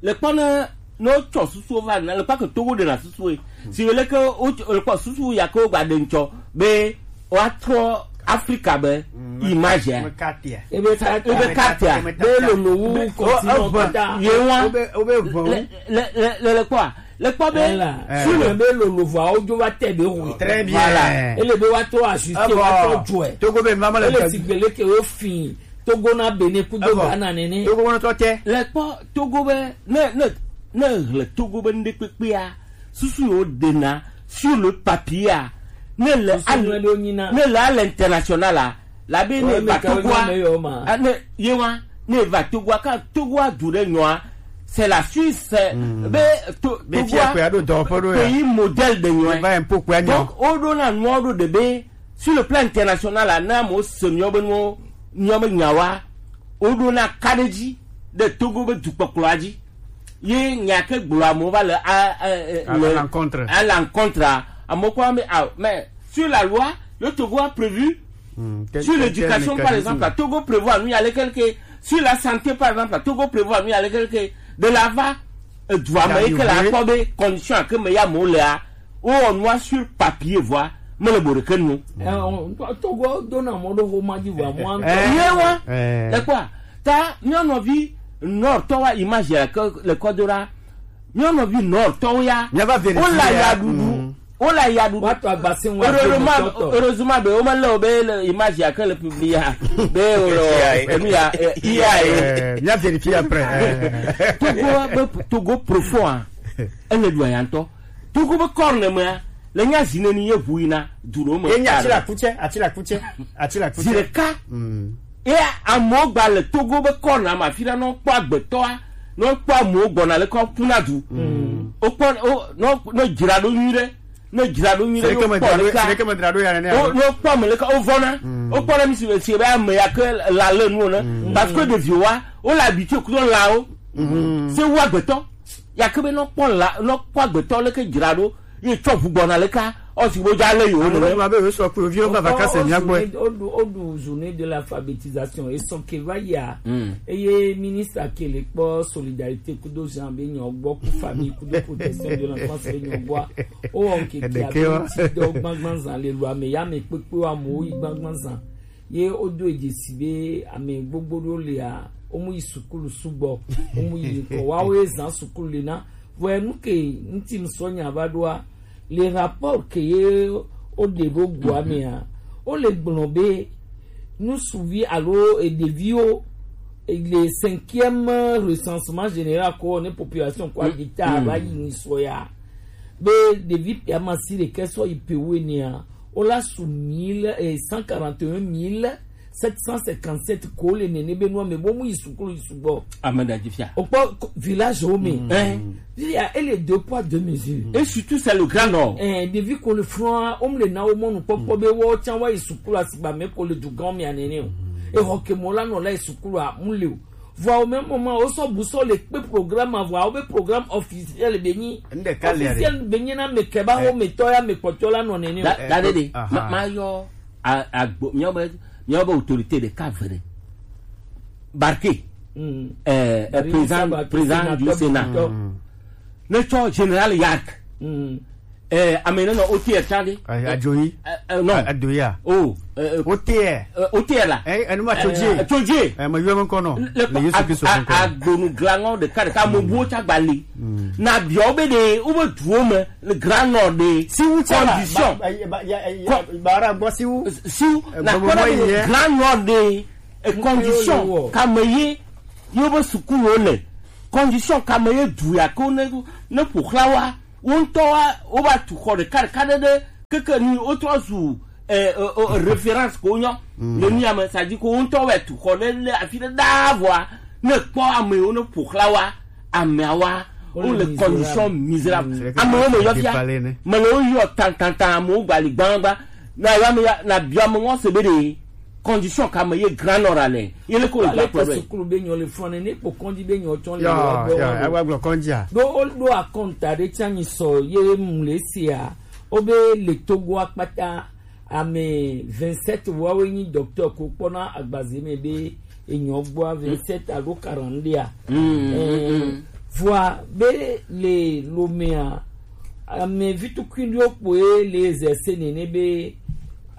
Le kpɔ ne ne wotsɔ susu va na le kpɔ ke Togo ɖe na susu e. Si le ke wo le kpɔ susu ya ke wo gba ɖe ŋtsɔ be woatrɔ Afrika be image ya. Ebe ka ebe katia be lolo wu continent kɔta. Ye wa. Le le le le kpɔ a le kpɔ be si le be lolo vɔ awo dzo va tɛ be hu. Très bien. Ele be wa to asiste wa to jɔɛ. Togo be mama le ele si gbele ke wo fin Togo na Benin kudo Ghana nene. Togo na to tɛ. Le kpɔ Togo be ne ne ne hle Togo be ŋɖe kpekpea susu yo ɖena sur le papier a ne le ne le à l'international a la be ne va Togo a ne ye wa ne va Togo a ka Togo a du ɖe nyɔa c'est la Suisse be Togo a pays modèle de nyɔa donc o ɖo na nua ɖo de be sur le plan international a na mo se nyɔ be nuwo nyɔ be nyawa o ɖo na kaɖedzi ɖe Togo be dukpɔkplɔa dzi ye nya ke gblɔ amewo va le à l'encontre à l'encontre amewo kpɔ be ah mais sur la loi le Togo a prévu sur l'éducation par exemple la Togo prévoit nu ya lekeleke sur la santé par exemple la Togo prévoit nu ya lekeleke de la va edua me yi ke la kpɔ be condition ke me ya mo lea wowɔ nua sur papier vɔa mele bo ɖeke nu. Togo dona mɔ ɖo xoma dzi vɔa mɔ ŋutɔ. Ye wa ekpɔa ta mía nɔvi nɔrtɔ wa image ya ke le kɔdo ɖa mía nɔvi nɔrtɔwo ya míava vérifier wole ya ɖuɖu wole ya ɖuɖu. Woato agba se ŋu heureusement heureusement be womele wo be le image ya ke le publier be wole enu ya iya ye. Mía vérifier après. Togo be Togo profond a ele ɖu aya ŋutɔ. Togo be corne mea le nya zi neni ye ʋu yina du ɖewo me. Ye nya atsi la kutsɛ, atsi la kutsɛ, atsi la kutsɛ. Zi ɖeka. Ye amewo gba le Togo be corne me afi ɖe ne wokpɔ agbetɔa, ne wokpɔ amewo gbɔna leke wokuna du. Wokpɔ ne dzra ɖo nyui ɖe, ne dzra ɖo nyui ɖe ne wokpɔ leke ne wokpɔ ame leke wovɔna. Wokpɔ ɖe mi si si be ame ya ke la le nuwo ne. Parce que ɖeviwo wa wole habitué kudo lãwo. Se wu agbetɔ. Ya ke be nɔ kpɔ la nɔ kpɔ agbetɔ leke dzra ɖo ye tsɔ ʋu gbɔna leka ɔsi bo dza le yewo nene. Alo gblɔ be yewo sɔ kple yewo va vacances mía gbɔe. Woɖu woɖu journée de l'alphabétisation esɔ ke va yia. Eye ministre ke le kpɔ solidarité kudo Jean be nyɔ gbɔ ku famille kudo protection de l'enfance be nyɔ gbɔa. Wowɔ ŋkeke abe ŋuti dɔ gbagban zan le lu ame ya me kpekpe wa amewo yi gbagban zan. Ye wodo dzesi be ame gbogbo ɖewo lia, womu yi sukulu sugbɔ, womu yi ŋkɔ. Woawo ye zã sukulu le na. Vɔ enu ke ŋuti ŋsɔ nya va ɖoa, le rapport ke ye woɖe ɖo goa mea, wole gblɔ be nusuvi alo ɖeviwo le cinquième recensement général ko ne population ko habita va yi ni sɔ ya. Be ɖevi piamasi ɖekɛ sɔ yi pe wo enea, wola su mille, eh, cent quarante et un mille sept cent cinquante-sept ko le nene be nua me bo mu yi sukulu yi sugbɔ. Ame da dzi fia. Okpɔ village wo me. Fia ele deux poids deux mesures. Et surtout c'est le grand nord. Eh, ɖevi ko le froa, wo mu le na wo mɔnu kpɔkpɔ be wo tsa wa yi sukulu asigba me ko le du gan me anene o. E ho ke mo la no la yi sukulu a mu le o. Vɔa au même moment wosɔ bu sɔ le kpe programme vɔa wobe programme officiel be nyi. Ŋɖeka le officiel be nyi na me keba wo me tɔ ya me kpɔtɔ la nɔ nene. Da da de de. Ma ma yɔ agbo miawo be miawo be autorité ɖeka ve ɖe. Barke. Eh, président président du Sénat. Ne tsɔ général Yark. Eh, ame ne nɔ O T R tsa ɖe. Eh, adzoyi. Eh, eh, non. A- adoya. Oh, eh, eh, O T R. Eh, O T R la. Eh, enu ma tso dzi. Eh, tso dzi. Eh, me yɔ me kɔnɔ. Le Yesu Kristo ŋkɔ. Agbonu glanɔ ɖeka ɖeka mo buwo tsa gbali. Na biɔ be ɖe wo be duwo me le glanɔ ɖe. Si wu tsa la, condition. Ba- ba- ya- ya- ya- Kɔ- ba- ra gbɔ si wu. Si wu. Eh, na gbɔ- kɔ na gbɔ- be ye. Glanɔ ɖe. Eh, condition. Kame ye. Yo be sukulu le. Condition kame ye du ya ko ne ne ƒo xla wa. Wo ŋutɔ wa wo va tu xɔ ɖeka ɖeka ɖe ɖe keke ni wo trɔ zu eh, eh, eh, référence ko nyɔ le mía me sa dzi ko wo ŋutɔ wɔ tu xɔ ɖe le afi ɖe ɖaa vɔa ne kpɔ amewo ne ƒo xla wa amea wa wo le condition misérable amewo me yɔ fia me le wo yɔ tantantan amewo gbali gbangba na yɔ ame ya na biɔ ame ŋɔ se be ɖe condition ka me ye grand nord ale ye le ko le gba kplɔ ɖe. Sukulu be nyɔ le fɔne ne kpɔ kɔndzi be nyɔ tsɔ le yɔ yɔ yɔ. Agba gblɔ kɔndzia. Ɖo wo ɖo akɔnta ɖe tsa nyi sɔ ye mu le sia wo be le Togo akpata ame vingt-sept woawo nyi docteur ko kpɔna agbaze me be enyɔ gbɔa vingt-sept alo quarante-deux a. Vɔa be le lomea ame vitukui ɖewo kpoe le exercer nene be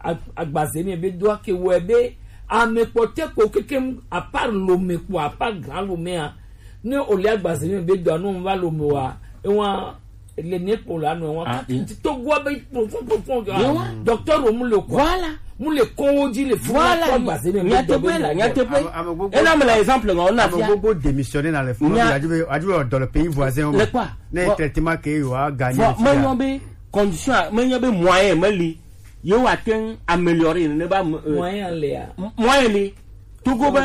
ag- agbaze me be do ake wɔe be ame kpɔtɛ kpo kekem apart lome kpo apart grand lomea ne o le agbaze me be do anu va lome wa ewa le ne kpo la nu ewa kati ti to gua be profond profond ga docteur o mu le quoi voilà mu le ko wo di le fo voilà agbaze me be do nyateƒe la nyateƒe ena me la exemple nga ona fia gbogbo démissionner dans les fonds nya adu be adu dans le pays voisin le quoi ne traitement que yo a gagné me nyo be condition me nyo be moyen me li yo wa ten améliorer ne ba moyen le a moyen li Togo be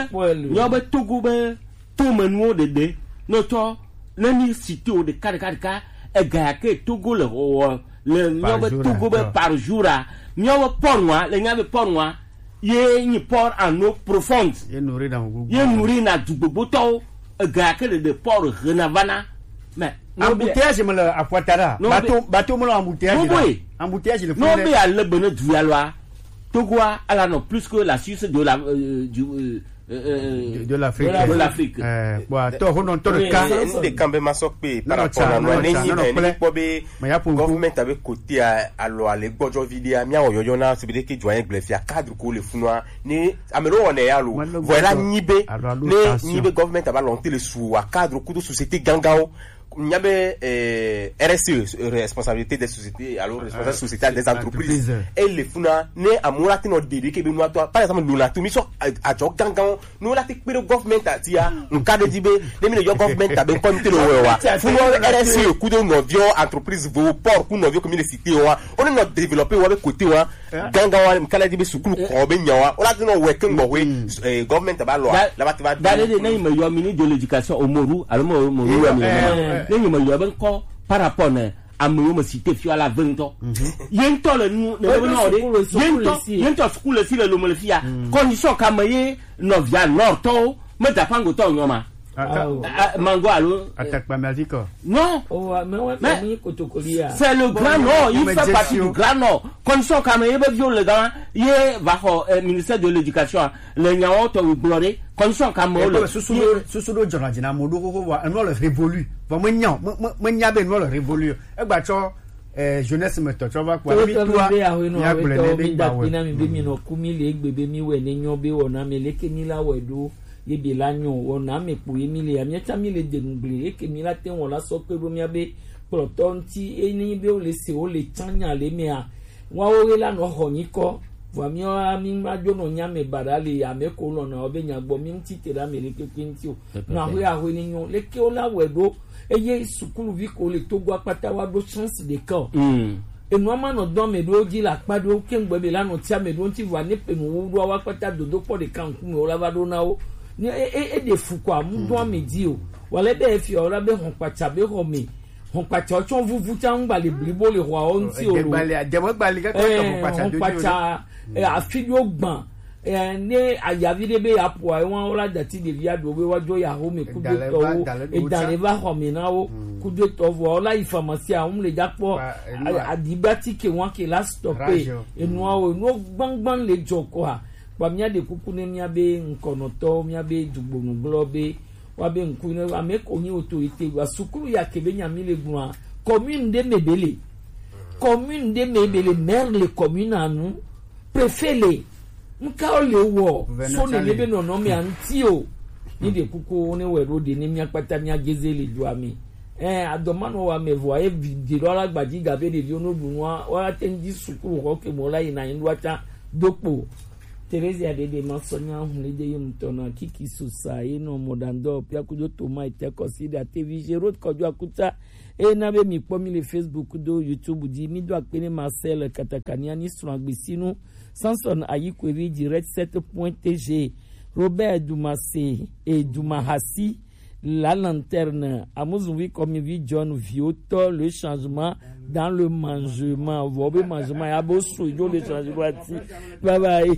nyo be Togo be tomenuwo ɖeɖe nɔtɔ ne mi cité wo ɖeka ɖeka ɖeka ega ya ke Togo le wɔwɔ le mía be Togo be par jour a mía be port nua le mía be port nua ye nyi port en eau profonde ye nourrir na du gbogbotɔwo ega ya ke ɖeɖe port hena vana mais embouteillage me le aƒuata ɖa bateau bateau me le embouteillage ɖa embouteillage le fún ne be ale be ne du ya lɔa Togoa ala nɔ plus que la Suisse de la euh, du euh, euh, de, de l'Afrique. De l'Afrique. Euh, bon, attends, on entend le cas. N de kan be ma sɔ kpe par rapport na no ne ni ne ni kpɔ be government abe côté a alɔ ale gbɔdzɔ vi de a mi awɔ yɔyɔ na se be de ke jɔ ye gblɛ fia cadre ko le funua ni amelo wɔ ne ya lo. Voilà ni be ne ni be government aba lɔnte le su wa cadre kudo société gangan o nya be eh, R S E, responsabilité des sociétés, alors responsabilité sociétale des entreprises. Ele funa ne amola tino dede ke be nua to. Par exemple, nous la tout mission à Djok Gangan, nous la te pere government atia, nous cadre di be, ne mi yo government a be comme te lo wa. Funa R S E ku de no vio entreprise vo port ku no vio communauté cité wa. On a développé wa be côté wa. Gangan wa kala di be sukulu ko be nya wa. On a no we ke ngbo we government ba lo. La ba te ba. Dale de ne me yo mini de l'éducation au Moru, alors mo mo yo mi. Ne me yo ben ko par rapport ne amewo me cité fia la ve ŋutɔ ye ŋutɔ le nu le be nɔ de ye ŋutɔ ye ŋutɔ sukulu le si le lome le fia condition ka me ye nɔvia nɔtɔwo me da pango tɔ nyɔ ma mango alo atakpa me avi kɔ non c'est le grand nord il fait partie du grand nord condition ka me ye be viwo le gama ye va xɔ ministère de l'éducation le nyawo tɔ gblɔ de condition ka me wo le susu do susu do jɔna jina mo do xoxo wa enɔ le révolu vɔ me nya me me nya be enɔ le révolu egba tsɔ eh, jeunesse me tɔ tsɔ va kpɔ mi tua mi agblɔ ne be gba wɛ na mi be mi nɔ ku mi le egbe be mi wɛ ne nyɔ be wɔna mi leke mi la wɛ ɖo ye be la nyɔ wɔna mi kpo ye mi le ya mi tsa mi le de nu gble eke mi la te wɔ la sɔ kpe ɖo mi be kplɔtɔ ŋti ye ni be wo le se wo le tsa nya le mea Woawo ɣe la nɔ xɔ nyikɔ, vɔa míawo la mí ma dzo nɔ nya mɛ baɖa le ame ko lɔna wo be nya gbɔ mí ŋuti te ɖe ame ɖekpekpe ŋuti o. Nɔ axwe axwe ni nyɔ leke wo la wɛ ɖo eye sukuluvi ko le Togo akpata wa ɖo chance ɖeka o. Enua ma nɔ dɔ ame ɖewo dzi le akpa ɖewo ke ŋgbe be la nɔ ti ame ɖewo ŋuti vɔa ne pe nu wo ɖoa wa akpata dodo kpɔ ɖeka ŋkume wo la va ɖo na wo. Ne e e e ɖe fu kɔ amu dɔ ame dzi o. Wale be efia wo la be hɔn kpatsa be xɔ me. Hɔn kpatsa tsɔ vuvu tsa ŋgba le blibo le xɔa wo ŋuti o lo. Ɛɛ, hɔn kpatsa afi ɖo gbã. Ɛɛ, ne ayavi ɖe be ya ƒo ayi wa wo la dati ɖevi aɖo be wa dzo ya xɔ me kudetɔwo. Eda le va xɔ me na wo kudetɔ vɔ wo la yi pharmacie a wo mu le dza kpɔ aɖiba tike wa ke la stɔpe enua wo enuwo gbangban le dzɔ kɔa kpa mía ɖe kuku ne mía be ŋkɔnɔtɔwo mía be dugbonu gblɔ be Wa be ŋku ne ame ko nyi autorité wa sukulu ya ke be nya mi le gblɔa commune ɖe me be le. Commune ɖe me be le maire le commune anu, préfet le, nka o le wɔ so ne le be nɔnɔ me anti o. Ni de kuku ne wɛ ɖo de ne mia kpata mia geze le dua me. Eh, adɔmanɔ wa me vɔ aye vi de ɖo ala gbadzi gabe ɖeviwo no ɖu nua wa te ŋdi sukuru xɔ ke mo la yi na yi ɖo ata do kpo. Teresia ɖeɖe ma sɔ nya hun le de ye ŋutɔ na kiki susa ye nɔ mɔdandɔ pia kudo toma ite kɔsi ɖe atevi Gerode kɔdzo akuta. Eye na be mi kpɔ mi le Facebook do YouTube dzi, mi do akpe ne Marcel Katakania ni srɔ̃ agbesinu, Samson Ayikwevi direct sept point T G, Robert Dumase et Dumahasi, La Lanterne, Amuzuvi Kɔmivi John Viotɔ, Le Changement dans le Mangement. Vɔ be mangement ya bo so ijo Le Changement ati. Bye bye.